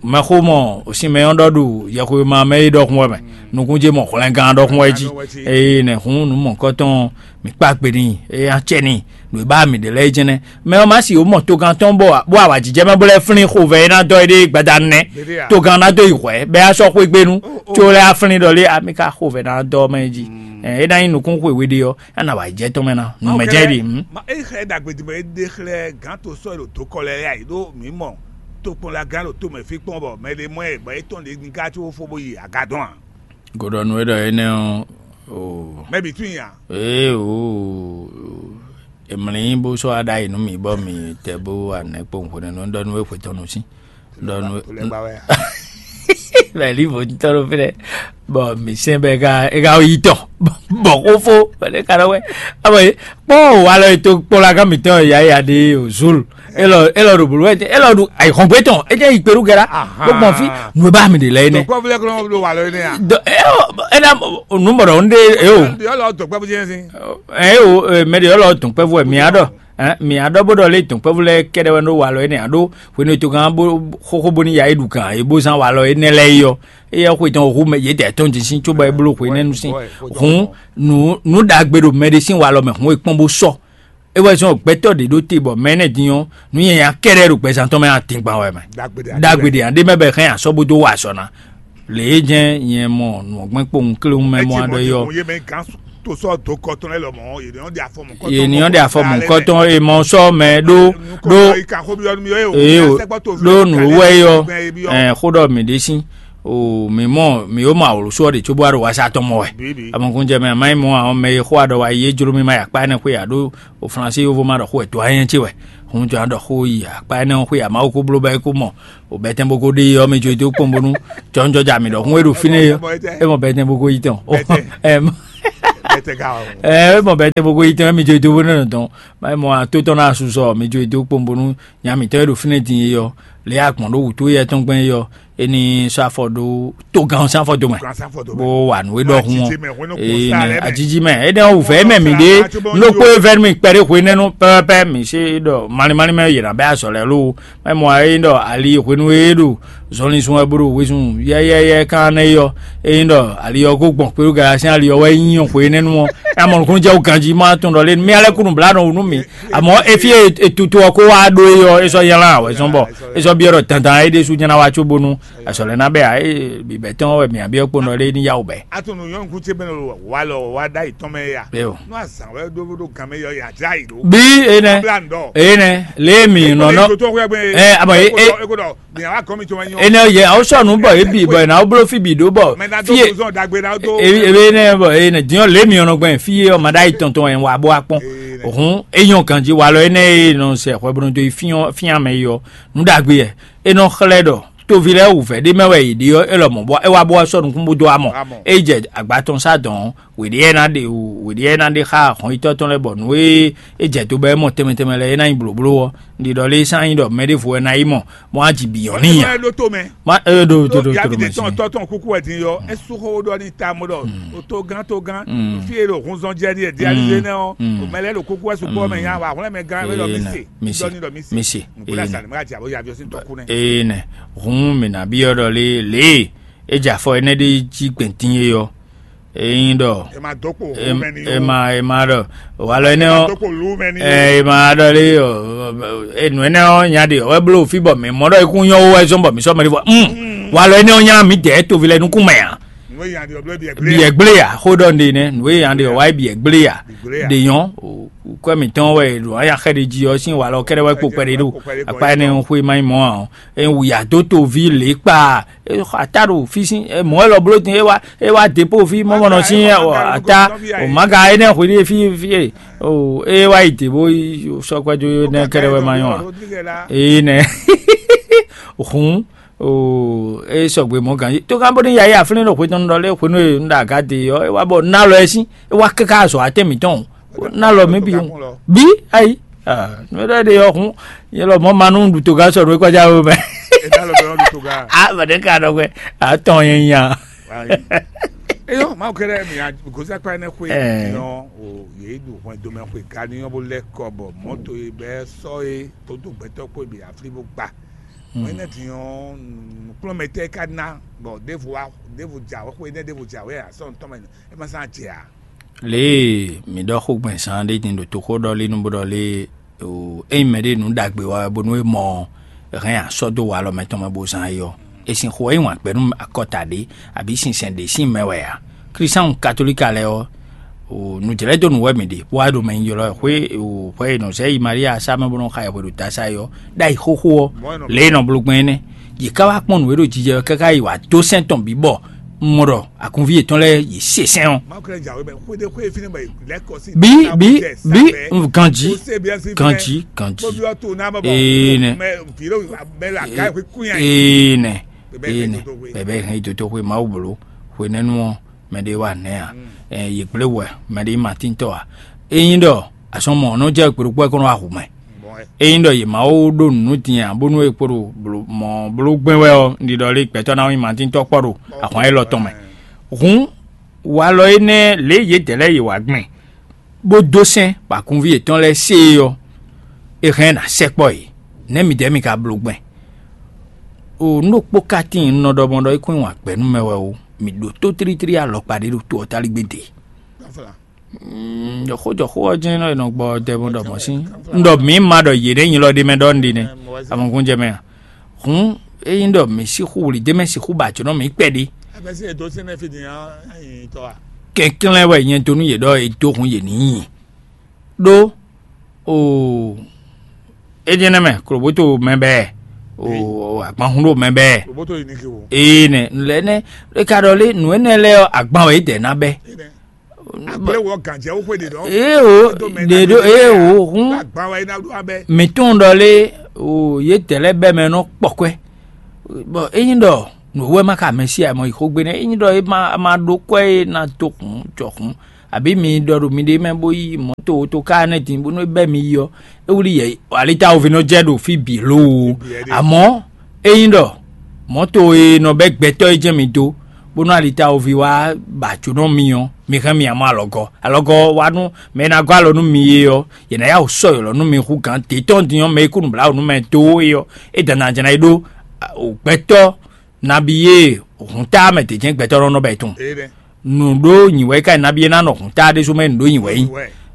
mɛxó mɔ sinmɛ ɔ́ ɖɔ ɖo yɛxwemɛ mɛ é ɖɔhun wɛ mɛ, nukún ce mɔ hwlɛngán ɖɔhun wɛ jí. Eye nɛ̌ hǔn nǔ mɔ̌hunkɔtɔn mǐ kpá gbe n'i, é nya acɛ n'i, nǔ e ba mǐ ɖe lɛ́ɛ é jɛ́n nɛ́. Mɛ ɔ́ ma si wǒ mɔ togán tɔn bɔ bó awǎjijɛ mɛ bó lɛ́ flín xovɛ e ná dɔ éɖée gbadanu nɛ́. Togán ná dó yi hwɛ̌ bɔ é ná sɔ́ xwé gbe nú, có lɛ́ á flín ɖɔ lé a mì ka xovɛ ná dɔ mɛ é jí. É ná nyí nukún xwe we ɖé ɔ́, é ná wa jɛ tɔn mɛ ná, nǔ mɛ jɛ ɖi. É xlɛ́ ɖagbe din bɔ é ɖe xlɛ́ gǎn to sɔ́ e ɖo dokɔ lɛ́ɛ yá yi ɖó mǐ mɔ tokpɔnlagán ɖo tomɛ fí kpɔ́n bɔ mɛ ɖé mɔ ɛ bɔ é tɔn ɖě ní ká có fó bó yi agadɔn ǎ. Go ɖɔ nú we ɖɔ énɛ́ ɔ́, o. Mɛ bǐ tún nyi a? Ee o, emlí bó sɔ́ aɖayi nú mì bɔ mì tɛ bó anɛ kpowun hwenɛ́nu ɖɔ nú we xwe tɔn nu sín. Ɖɔ nú we. Mɛ li vo tɔn ɖo fínɛ. Bɔ mì sɛn bɛ ka e ka yi tɔn bɔ xófó bɛ ka ɖɔ wɛ. Abɔ ye kpɔn walɔ yi to kpɔla kan mìtɔn ya ya ɖe o zulu. Elɔ elɔ ɖo bolo wɛ elɔ ɖo ayihɔngbɛ tɔn e jɛ yi kpeɖu gɛra. Bó gbɔn fi nù e bá mi de lɛ yi nɛ. Tɔkpɔ filɛ kɔnɔ blo walɔ yi nɛ ya. Ena numɔrɔ n de e o. Yɔlɔ dɔkpɛ bó jɛ sin. E o mɛ de yɔlɔ dɔkpɛ fo mi adɔ. Mi adɔ bó ɖɔ lé dɔkpɛ fo lɛ kɛɖɛ wɛ ɖo walɔ yi nɛ ado hwenu to kan bó xóxó bó ní ya yi ɖu kan e bó zán walɔ yi nɛ lɛ yi ɔ. Eyɛ xwe tɔn hu mɛ yě dɛ tɔn jí sín cóbɔ é bló hwenɛ́nu sín. Hǔn nǔ nǔ ɖagbe ɖo mɛɖé sín walɔ mɛ hǔn e kpɔ́n bó sɔ. É wɛ zɔn gbɛtɔ́ ɖě ɖó te bɔ mɛ énɛ́ din ɔ́, nǔ nyanya kɛ́ɖɛ́ ɖo gbɛzán tɔn mɛ atɛngban wɛ mɛ. Ɖagbe ɖé ǎ, ɖé mɛ bɛ hɛn asɔ́ bó dó wa azɔ̌ ná. Lě e jɛ́n nyɛ mɔ nǔgbɛ́n kpowun kléwún mɛ mɔ aɖɔ é ɔ́, yě ní ɔ́ ɖe afɔ mɔ̌kɔtɔn e mɔ sɔ́ mɛ ɖó ɖó ee o, ɖó nǔ wɛ é ɔ́, ɛn xó ɖɔ mǐ ɖe sín o, mǐ mɔ mǐ ó mɔ awǒlúsú ɔ́ ɖě cóbó wá ɖo wása tɔn mɔ wɛ. Amɔkúnjɛ mɛ, má nyí mɔ àwọn mɛ e xó aɖɔ wa yí é jló mì má yi akpá énɛ́ xwé ǎ ɖó o Flansí yovo ma ɖɔ xó wɛ dó anyɛ́ ce wɛ. Hun jɔ ɖɔ xó yi akpá énɛ́ xwé ǎ, Mawu kó bló bɔ é kó mɔ o bɛtɛn bó kó ɖe ɔ́ mɛ jó é dó kpɔ́n bónú jɔnjɔ́ ja mǐ ɖɔhun e ɖo fínɛ́ é ɔ́, é mɔ bɛtɛn bó kó yi tɔn. Ɛ, é mɔ bɛtɛn bó kó yi tɔn, é mɛ jó é dó bónú nɔ tɔn. Má nyí mɔ atótɔn ná asusɔ mɛ jó é dó kpɔ́n bónú nya mǐtɔn e ɖo fínɛ́ din é ɔ́, lě e agbɔ̌n ɖó wǔtú éyɛ́ tɔn gbɛn é ɔ́, é ní sɔ́ afɔ ɖó togán sín afɔ dó mɛ, bó wa nǔ e ɖɔhun ɔ́. Ajiji mɛ, énɛ́ ɔ́ wǔvɛ́ mɛ mǐ ɖé, nú ɖokpó e vɛ́ nú mì kpɛɖé hwenɛ́nu pɛ́pɛ́pɛ́, mǐ sé ɖɔ malín malín mɛ yě ná bɛ́ azɔ̌ lɛ́ɛ lóo. Mɛ mɔ ɛ nyí ɖɔ ali hwenu e é ɖo zɔnlin sun wɛ bó ɖo wezun yɛ́yɛ́yɛ́ kan nɛ́ é ɔ́, é nyí ɖɔ ali ɔ́ ko gbɔn kpéɖó gala sín ali ɔ́ wɛ nyí hwenɛ́nu ɔ́. É mɔ nukúnnú jɛ wú ganjí má tɔn ɖɔ lé mía lɛ́ kú nǔ blá nɔ wǔ nú mǐ. Amɔ̌ é fí e è tutu ɔ́ kó wá ɖó é ɔ́, é sɔ́ nylá wɛ zɔ́n bɔ é sɔ́ byɔ́ ɖɔ dandan é ɖésú nyá ná wá cóbónú azɔ̌ lɛ́ɛ ná bɛ ǎ. É bǐbɛ́ tɔn wɛ mǐ byɔ́ kpónɔ lé ní yá wǔ bɛ́. A tunú nyɔ̌nu kú ce mɛ lo wa lɔ wa ɖ'ayǐ tɔn mɛ ya. Bɛ́ o. Nú azǎn wɛ ɖó ɖó gan mɛ yɔ ya dlá yǐ ɖó. Bí énɛ́ Bla ŋdɔ. Énɛ́ lé mǐ nɔ nɔ. Ɛ, amɔ é é Eko dɔ mǐ wa gɔn mi tɔn wɛ nyɔ. Énɛ́ yɛ awo sɔ nǔ bɔ é bǐ bɔ é ná wó bló fí bǐ ɖó bɔ Mɛ ná dó fí e bozɔn dagbe ná dó. Ebe énɛ́ bɔ énɛ́ dín ɔ́ lě mǐ nɔ gbɛn fí é ɔ́ ma ɖ'ayǐ tɔn tɔn wɛ wa bó wá kpɔn. Hǔn é nyɔ́ ganjí walɔ énɛ́ e nɔ sɛ hwɛblódó yi fín ɔ́ fín amɛ yi ɔ́, nǔ ɖagbe yɛ é nɔ xlɛ́ ɖɔ toví lɛ́ɛ wǔvɛ́ ɖé mɛ wɛ yě ɖe ɔ́, é lɔmɔ̌ bɔ é wá bó wá sɔ́ nukún bó dó wá mɔ. Amɔ. É jɛ agba tɔn sá dɔn ɔ́, wěɖé ɛ ná ɖe wǔ wěɖé ɛ ná ɖe xá hɔnyitɔ́ tɔn lɛ́ɛ bɔ nǔ e é jɛ do bɔ é mɔ tɛnmɛ tɛnmɛ lɛ́ɛ é ná nyí blǒbló ɔ́, un ɖi ɖɔ lé sán nyí ɖɔ mɛ ɖěvo wɛ ná yi mɔ, bɔ á ji bǐ nyɔ̌ n'i nya. Ɛ ɖó tó mɛ. Ma ɛ ɖo tó ɖó tó ɖo mɛ sin. Tɔn tɔn kúkú wɛ din yɔ. É sú xó ɖɔ ní ta mɔ ɖɔ o tó gán tó gán. Fi e ɖo hun zɔn jɛ ní ɛdí alizé nɛ ɔ́, o mɛ lɛ ɖo kúkú wɛ sukpɔ mɛ nya wa hwlɛn mɛ gán mɛ ɖɔ mi se. Mi se. Mi se. Nukúnlá sani mɛ ka jà bó ya avion sin tɔkú nɛ. Ee nɛ, hun mi na bi ɔ́ ɖɔ lé lé e jɛ afɔ énɛ́ ɖé jí gbɛntín é ɔ́. Ényí ɖɔ e ma dó kpo wú mɛ ní e ma e ma ɖɔ walɔ énɛ́ ɔ́ dó kpo lú mɛ ní ɛ e ma ɖɔ lé ɔ, enu énɛ́ ɔ́ nya ɖe ɔ́ wɛ bló fí bɔ mǐ mɔ ɖɔ ikú nyɔ́ wú wɛ zɔ́n bɔ mǐ sɔ́ mɛ ɖé fɔ. Walɔ énɛ́ ɔ́ nya mǐ dɛ̌ toví lɛ́ɛ nukún mɛ ǎ. Nú e nya ɖe ɔblɔ́ biɛ gblé. Biɛ gblé ya xó ɖɔ nɖe nɛ nǔ e nya ɖe ɔ́ wá yi biɛ gblé ya. Ɖe nyɔ́ kwɛ mǐtɔn wɛ ɖo anya xɛ ɖe jí ɔ́ sín walɔ kɛ́ɖɛ́ wɛ kpo kpɛɖé ɖo akpa énɛ́ ɔ́ xwé má nyí mɔ ǎ ɔ́. Ewú ya dó toví lě kpa ata ɖo fí sín mɔ̌ wɛ lɔ bló din é wá é wá depo fí mɔmɔnɔ sín ata o maga énɛ́ hwe ɖé fí fí e o é wá yi dě bó sɔkpɛ dó énɛ́ kɛ́ɖɛ́ wɛ ma nyɔ́ ǎ. Énɛ́ hǔn o é sɔgbe mɔ̌ ganjí tó gán bó ní ya yí aflín ɖo hwe tɔn ɖɔ lé hwenu e un ɖo aga dě ɔ́ é wá bɔ ná lɔ ɛ sín é wá káká azɔ̌ atɛ́n mǐtɔn o ná lɔ mǐ bǐ o bí ayi nú é ɖɔ ɖe ɔ́ hǔn yɛ lɔ mɔ̌ ma nú ɖu togán sɔ nú é kɔjá wé mɛ. Ena lɔ bɛ ɔn ɖo toga. A bɛ ɖe ka ɖɔ gbɛ a tɔn yɛ nya. Eyɔ mawu kɛlɛ mi a gosi akpa ɛnɛ xwe. Ɛɛ. Nɔ o ye ɖu hɔn domɛ xwe ka ni yɔ bo lɛ kɔ bɔ mɔto ye bɛ sɔ ye todo gbɛtɔ kpo bi afli bo gba. Mɛ ne ti yɔ nukplɔmɛtɛ ka na bɔ devo wa devo dza wɛ xwe ne devo dza wɛ a sɔ ntɔmɛ e ma sa dze a. Lě e mǐ ɖɔ xó gbɛn zán ɖé din ɖo toxó ɖɔ lé nú bó ɖɔ lé o ényí mɛɖé nǔ ɖagbe wa wɛ bónú é mɔ ɔ́, hɛn asɔ́ dó walɔ mɛtɔn mɛ bó zán é ɔ́, è sin xo ɛ nyi wǎn gbɛ́ nú akɔta ɖé abǐ sinsɛn ɖě sín mɛ wɛ ǎ. Klísáhùn katolíka lɛ́ɛ ɔ́, o nǔjlɛ́dónú wɛ mǐ ɖe, bó wá ɖo mɛ nyi ylɔ́ ɛ xwé o hwɛ e nɔ zɛ yi Maria sá mɛ bó nɔ xa ɛ hwe ɖo ta sá é ɔ́, ɖ'ayǐ xóxó ɔ́, lě e nɔ bló gbɛn énɛ́. Yě ká wá kpɔ́n nǔ e ɖo jijɛ ɔ́ káká yi wǎ dó sɛ́n tɔn bǐ bɔ un mɔ ɖɔ agunví yětɔn lɛ́ɛ yě se sɛ́n ɔ́. Bí bí bí ganjí ganjí ganjí. Ee nɛ. Ee nɛ. Ee nɛ. Bɛbɛ hɛn yi dotoxwe Mawu bló hwenɛ́nu ɔ́ mɛɖé wa nɛ̌ ǎ. Yě gblé wɛ mɛɖé ma tíntɔ́ ǎ. Ényí ɖɔ azɔn mɔ̌ nɔ jɛ kpěɖokpɔ́ é kɔn nɔ wá hu mɛ. Ényí ɖɔ yě ma wó ɖó nǔ nú din ǎ bónú é kpo ɖo mɔ̌ bló gbɛ́n wɛ ɔ́, un ɖi ɖɔ lé gbɛtɔ́ ná nyí ma tíntɔ́ kpɔ́ ɖo ahwan élɔ́ tɔn mɛ. Hǔn walɔ énɛ́ lě yědɛɛ lɛ́ɛ yě wá gbɛn, bó dó sɛ́n bɔ agunví yětɔn lɛ́ɛ se é ɔ́, é hɛn ná sɛkpɔ́ yě. Nɛ̌ midɛɛ mi ka bló gbɛn? O nú ɖokpó ka tíin un nɔ ɖɔ mɔ ɖɔ é kún nyi wǎn gbɛ́ nú mɛ wɛ ó, mǐ ɖótó tlítlí alɔkpa ɖé ɖo to ɔ́ táligbé dě. Mm, ɖɔ xó jɔ xó ɔ́ jɛ́n nɔ è nɔ gbɔ dɛ bó ɖɔ mɔ̌ sín. Un ɖɔ mǐ ma ɖɔ yě ɖě nyi lɔ ɖé mɛ ɖɔ un ɖi nɛ́. Amɔgún jɛ mɛ a? Hǔn ényí ɖɔ mǐ sixú wlǐ d'é mɛ sixú ba jǒnɔ mǐ kpɛɖé. Kɛnklɛ́n wɛ nyɛ dó nú yě ɖɔ è dó hun yě ní nyi. Ɖó o é jɛ́n nɛ́ mɛ klobóto mɛ bɛɛ o agbanhún ɖo mɛ bɛɛ. Ee nɛ lɛ́ nɛ́ é ka ɖɔ lé nǔ énɛ́ lɛ́ɛ ɔ́ agban wɛ é dɛ ná bɛ́. Ee o ɖe ɖo ee o hún. Mǐ tunwun ɖɔ lé o yě dɛ lɛ́ɛ bɛ́ mɛ nɔ kpɔkwɛ. Bɔ ényí ɖɔ nǔ wɛ ma ka mɛ sí amɔ yi xó gbe nɛ́ ényí ɖɔ é ma ma ɖó kwɛ́ e ná dó hǔn jɔ hǔn, abǐ mi ɖɔ ɖo miɖée mɛ bó yí mɔ̌to toká énɛ́ din bónú é bɛ́ mi yi ɔ́, é wlí yɛ alitawovi nɔ jɛ ɖo fí bǐ loo. Amɔ̌ ényí ɖɔ mɔ̌to e nɔ bɛ́ gbɛtɔ́ e jɛ́n mi dó bónú alitawovi wá ba jǒnɔ mi ɔ́, mi hɛn mi amɔ alɔgɔ́ alɔgɔ́ wá nú mɛ e ná gɔ́ alɔ nú mi é ɔ́, yě ná yá wǔ sɔ́ ylɔ̌ nú mi hú gǎn dě tɔn din ɔ́, mɛ e kú nǔbláwǔ nú mɛ dó é ɔ́, é dǎn ná jlá yi ɖó gbɛtɔ́ nabí e hǔn táá mɛ d'é jɛ́n gbɛtɔ́ nɔ nɔ bɛ tun. Nǔ ɖó nyi wɛ é ka nyí nabí e ná nɔ hǔn táá ɖésú mɛ nǔ ɖó nyi wɛ nyí.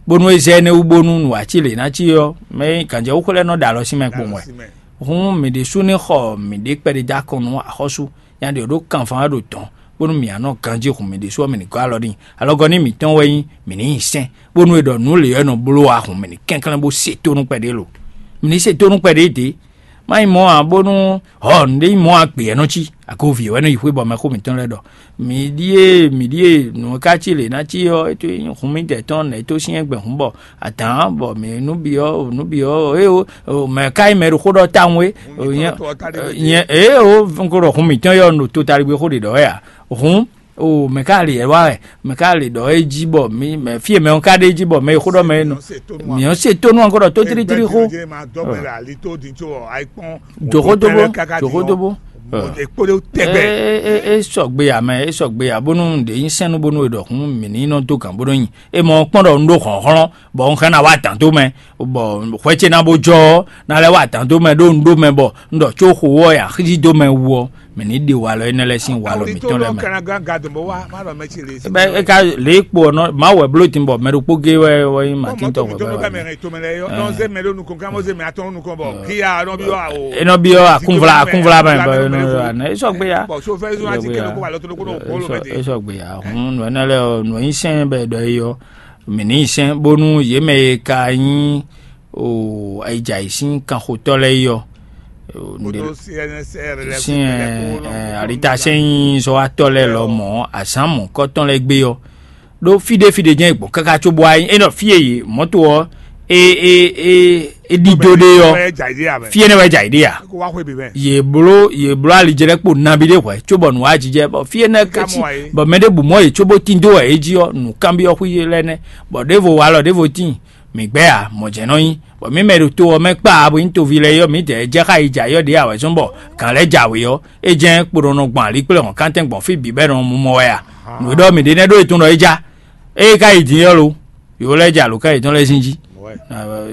Bónú é zɛ énɛ́ wú bónú nǔ wá cí lě ná cí ɔ́, mɛ gǎnjɛwúxó lɛ́ɛ nɔ ɖo alɔ sín mɛ kpowun wɛ. Hǔn mǐ ɖésú ní xɔ mǐɖée kpɛɖé dó akɔn nú axɔ́sú nya ɖě ɖó kanfán wɛ ɖo dɔ̌n, bónú mǐ á nɔ ganjí hun mǐ ɖésú ɔ́, mǐ ní gɔ́ alɔ n'i. Alɔgɔ́ ní mǐtɔn wɛ nyí mǐ ní nyi sɛ́n, bónú è ɖɔ nǔ lě ɔ́ è nɔ bló wá hun mǐ ní kɛnklɛ́n bó se tónú kpɛɖé lo. Mǐ ní se tónú kpɛɖé dě. Má nyí mɔ̌ ǎ, bónú hɔ̌ nǔɖé nyí mɔ̌ ǎ gbě ɔ́ nɔ cí, agoví wɛ nɔ yi xwé bɔ mɛxó mǐtɔn lɛ́ɛ ɖɔ. Mǐ ɖíe mǐ ɖíe nǔ e ka cí lě ná cí ɔ́, é tó nyí hun mǐdɛɛ tɔn nɛ̌ tó syɛ́n gbɛn hǔn bɔ adǎn bɔ mǐ nú byɔ́ nǔ byɔ́ é o mɛ ka nyí mɛ ɖo xó ɖɔ tawun é. Nyɛ é o un ko ɖɔ hun mǐtɔn yɔ un ɖo totaligbé xó ɖě ɖɔ wɛ a. Hǔn o mɛ ka lě wá wɛ, mɛ ka lě ɖɔ é jí bɔ mǐ mɛ fí e mɛ ɔ́ ka ɖe jí bɔ mɛ e xó ɖɔ mɛ é nɔ. Mǐ ɔ́ se tónú ɔ́ ko ɖɔ tótlítlí xó. Doxódóbó, doxódóbó. É sɔgbe ǎ mɛ, é sɔgbe ǎ bónú un ɖě nyí sɛ́n nú bónú è ɖɔ hǔn mǐ ní nɔ dó gǎn bó nɔ nyi. É mɔ kpɔ́n ɖɔ un ɖó hlɔ̌nhlɔ́n, bɔ un hɛn ná wá adǎn dó mɛ, bɔ hwɛ ce ná bó jɔ ɔ́, ná lɛ́ wá adǎn dó mɛ ɖó un ɖó mɛ bɔ un ɖɔ có xo ɔ́ ya xízí dó mɛ wú ɔ́, mǐ ní ɖe walɔ énɛ́ lɛ́ɛ sín walɔ mǐtɔn lɛ́ɛ mɛ. Bɛ́ é ka lě kpo ɔ́ nɔ Mawu wɛ bló din bɔ mɛ ɖokpó gé wɛ wɛ nyí Matín tɔn wɛ bɛ wɛ. É nɔ byɔ́ akúnvla akúnvla mɛ bɔ é nɔ anɛ é sɔgbe ya. É sɔgbe ya. Hun nɔ énɛ́ lɛ́ɛ ɔ́ nɔ nyí sɛn bɛ ɖɔ é yɔ. Mǐ ní yi sɛn bónú yě mɛ e ka nyí o ayidja yě sín kanxotɔ́ lɛ́ɛ yi ɔ́, sín alitasɛ́nyízɔ́watɔ́ lɛ́ɛ lɔ mɔ̌ azǎn mɔ̌kɔ́tɔn lɛ́ɛ gbé ɔ́, ɖó fí ɖé fí ɖé jɛ́n è gbɔn káká cóbó wá nyí é nɔ fí e yě mɔ̌to ɔ́ é é é é ɖidó ɖé ɔ́, fí énɛ́ wɛ jɛ ayǐ ɖe a? Yě bló yě bló alijɛ lɛ́ɛ kpo nabí ɖé hwɛ̌ cóbɔ nǔ wá jijɛ bɔ fí énɛ́ kɛ́cí bɔ mɛ ɖěbǔ mɔ yě cóbó tín dó wɛ é jí ɔ́, nǔkanbyɔ́ xwí lɛ́ɛ nɛ́. Bɔ ɖěvo walɔ ɖěvo tíin, mǐ gbɛ́ ǎ, mɔ̌ jɛ́n nɔ nyí, bɔ mǐ mɛ ɖo to ɔ́ mɛ kpa abo nyí toví lɛ́ɛ yɔ mǐdɛɛ jɛ xá yi jɛ ayɔ ɖě awɛzɔ́n bɔ gǎn lɛ́ɛ jɛ awě ɔ́, é jɛ́n kpo nɔ nɔ gbɔn alǐkplɔ́n hɔn kántɛn gbɔn fí bǐ bɔ è nɔ mɔ mɔ wɛ a? Nǔ e ɖɔ mǐ ɖe nɛ́ ɖó e tɔn ɖɔ é já. Ée ka yi din ɔ́ lo, yǒ lɛ́ɛ jɛ alǒkan yětɔn lɛ́ɛ sín jí.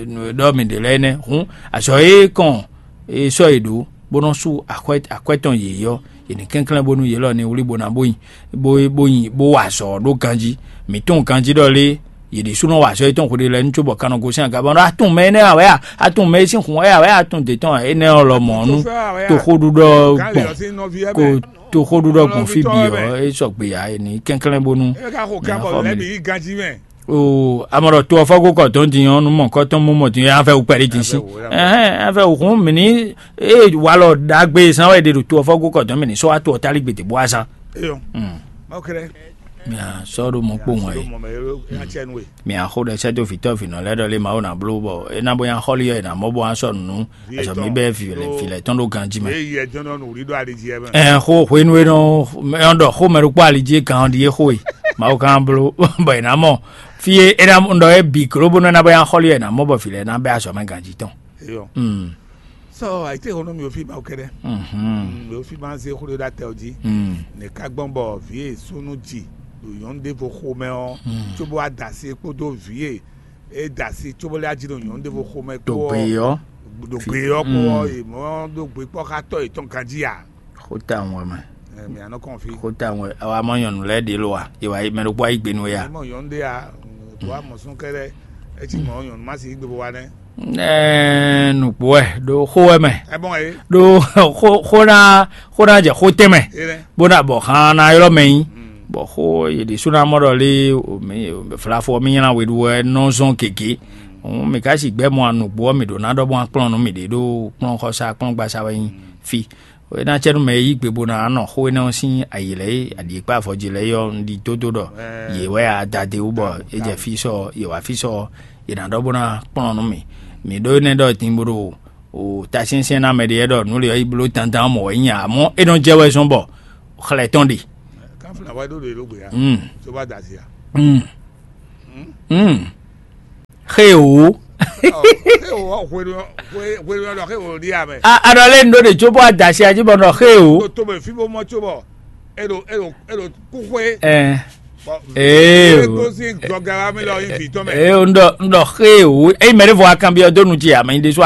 Nǔ e ɖɔ mǐ ɖe lɛ́ɛ nɛ́ hǔn azɔ̌ e kɔn e sɔ́ yě ɖó bó nɔ́ sú akwɛ́ akwɛ́ tɔn yě ɔ́, yě ní kɛnklɛ́n bónú yě lɔ ní wlí bó ná bó nyi bó bó nyi bó wa azɔ̌ ɖó ganjí. Mǐ tunwun ganjí ɖɔ lé yě ɖésúnɔ wa azɔ̌ yětɔn hweɖé lɛ́ɛ ní cóbɔ kan nɔ gosín aga bɔ ɖɔ atún mɛ énɛ́ ǎ wɛ a? Atún mɛ e sín hun wɛ ǎ wɛ a? Atún dě tɔn énɛ́ ɔ́ lɔ mɔ̌ nú toxóɖuɖɔ gbɔn ko toxóɖuɖɔ gbɔn fí bǐ ɔ́ é sɔgbe ǎ, è ní kɛnklɛ́n bónú mǐ ná xɔ mì. O amɔ ɖɔ to ɔfɔ́ gó kɔ dɔn din ɔ́, nú mɔ kɔtɔn mú mɔ din ɔ́, afɛ wú kpɛɖé din sí. Ɛhɛn, afɛ wú hún mì ní ée walɔ ɖagbe zán wɛ ɖe ɖo to ɔfɔ́ gó kɔ dɔn mì ní sɔ́ wá to ɔ́ tálí gbede bó wá zán. Eyɔ. Mm. Mawu kɛlɛ. Mia sɔ́ ɖo mɔ kpowun ɛ. Mia xo ɖe sɛ́ dó vǐtɔ́ vǐnɔ lɛ́ɛ ɖɔ lé Mawu ná bló bɔ é ná bó nya xɔ́lí ɔ́, è nǎ mɔ bó wá sɔ́ nǔ. Azɔ mi bɛ vǐ lɛ tɔn ɖo ganjí mɛ. Ɛ xó hwenu e nɔ nɔ ɖɔ xó mɛ ɖokpó ali jí kan ɖi é xó e Mawu kan bló bɔ è nǎ mɔ fí e é ná ɖɔ é bǐ gló bónú é ná bɔ nya xɔ́lí ɔ́, è nǎ mɔ bɔ vǐ lɛ́ɛ ná bɛ azɔ̌ mɛ ganjí tɔn. Eyɔ. Mm. Sɔ ayite xɔnɔ mi ofi ma kɛɖɛ. Mhm. Mi ofi ma ze xó ɖe ɖa tɛ o jí. Mm. Ne ka gbɔn bɔ vi e sunu ji ɖo nyɔnu ɖevo xomɛ ɔ. Mm. Tsobo adasi kpodo vi e e da asi tsobo lé aji ɖo nyɔnu ɖevo xomɛ kpó ɖo gbe ɔ́. Ɖo gbe ɔ́ kpó ɔ́, è mɔ ɖó gbe kpɔ́ xá tɔ́ yětɔn ganjí a? Xó ta ŋu wɛ mɛ. Ɛ, mɛ anɔ kɔn fi. Xó ta ŋu wɛ awa mɔ nyɔnu lɛ́ɛ ɖě lo a? È wá yi mɛ ɖokpó wá yi gbe nú we a? Mɔ nyɔnu ɖé a? Wá mɔ sún kɛ́ɖɛ́, é cí mɔ̌ nyɔ̌nu má si yí gbe bó wá nɛ́. Ɛɛ, nǔgbó wɛ ɖo xó wɛ mɛ. Ɛ bɔn ɛ. Ɖo xó xó ná xó ná jɛ xó tɛn mɛ. É nɛ. Bó ná bɔ xán ná ylɔ́ mɛ nyí. Bɔ xó yě ɖésú ná mɔ ɖɔ lé, flafo mi nylá we ɖu wɛ nɔ zɔn gěgé. Òun mi ka si gbɛ mɔ nǔgbó ɔ́, mi ɖǒ ná ɖɔ bó ná kplɔ́n nú mi ɖě ɖo kplɔ́n xɔsá kplɔ́n gbasa wɛ nyí fí. É ná cɛ nú mɛ e yí gbe bó ná nɔ xó énɛ́ ɔ́ sín ayǐ lɛ́ɛ e aɖǐ e kpá avɔ jí lɛ́ɛ é ɔ́, un ɖi dó ɖɔ yě wɛ adadewú bɔ é jɛ fí sɔ yě wá fí sɔ yě ná ɖɔ bó ná kplɔ́n nú mì. Mǐ ɖó énɛ́ ɖɔ din bó ɖo o tasyɛnsyɛn ná mɛ ɖé wɛ ɖɔ nǔ lě ɔ́ yi bló dandan mɔ̌ wɛ nyí ǎ, amɔ́ é nɔ jɛ wɛ zɔ́n bɔ xlɛ̌ tɔn ɖe. Káfíńtà wáyé ɖó ɖe ló gbé ya. Mm. Tó bá dà sí ya. Mm. Mm. Xé o. Xé o, xé o, xé o, xé o, xé o, ɖi amɛ. A a ɖɔ lé nu ɖó ɖe tso bɔ adasi ají bɔ nɔ xé o. Tó tó mɛ fí bó mɔ tso bɔ. Eɖo eɖo eɖo kúxwé. Ɛ. Ee o. Tó sí gbɔgara mi lɔ yi fi tɔn mɛ. Ee o, n ɖɔ n ɖɔ xé o. Eyi mɛ ɖé fɔ akanbi ɔdó nu ti amɛ nyi ɖésú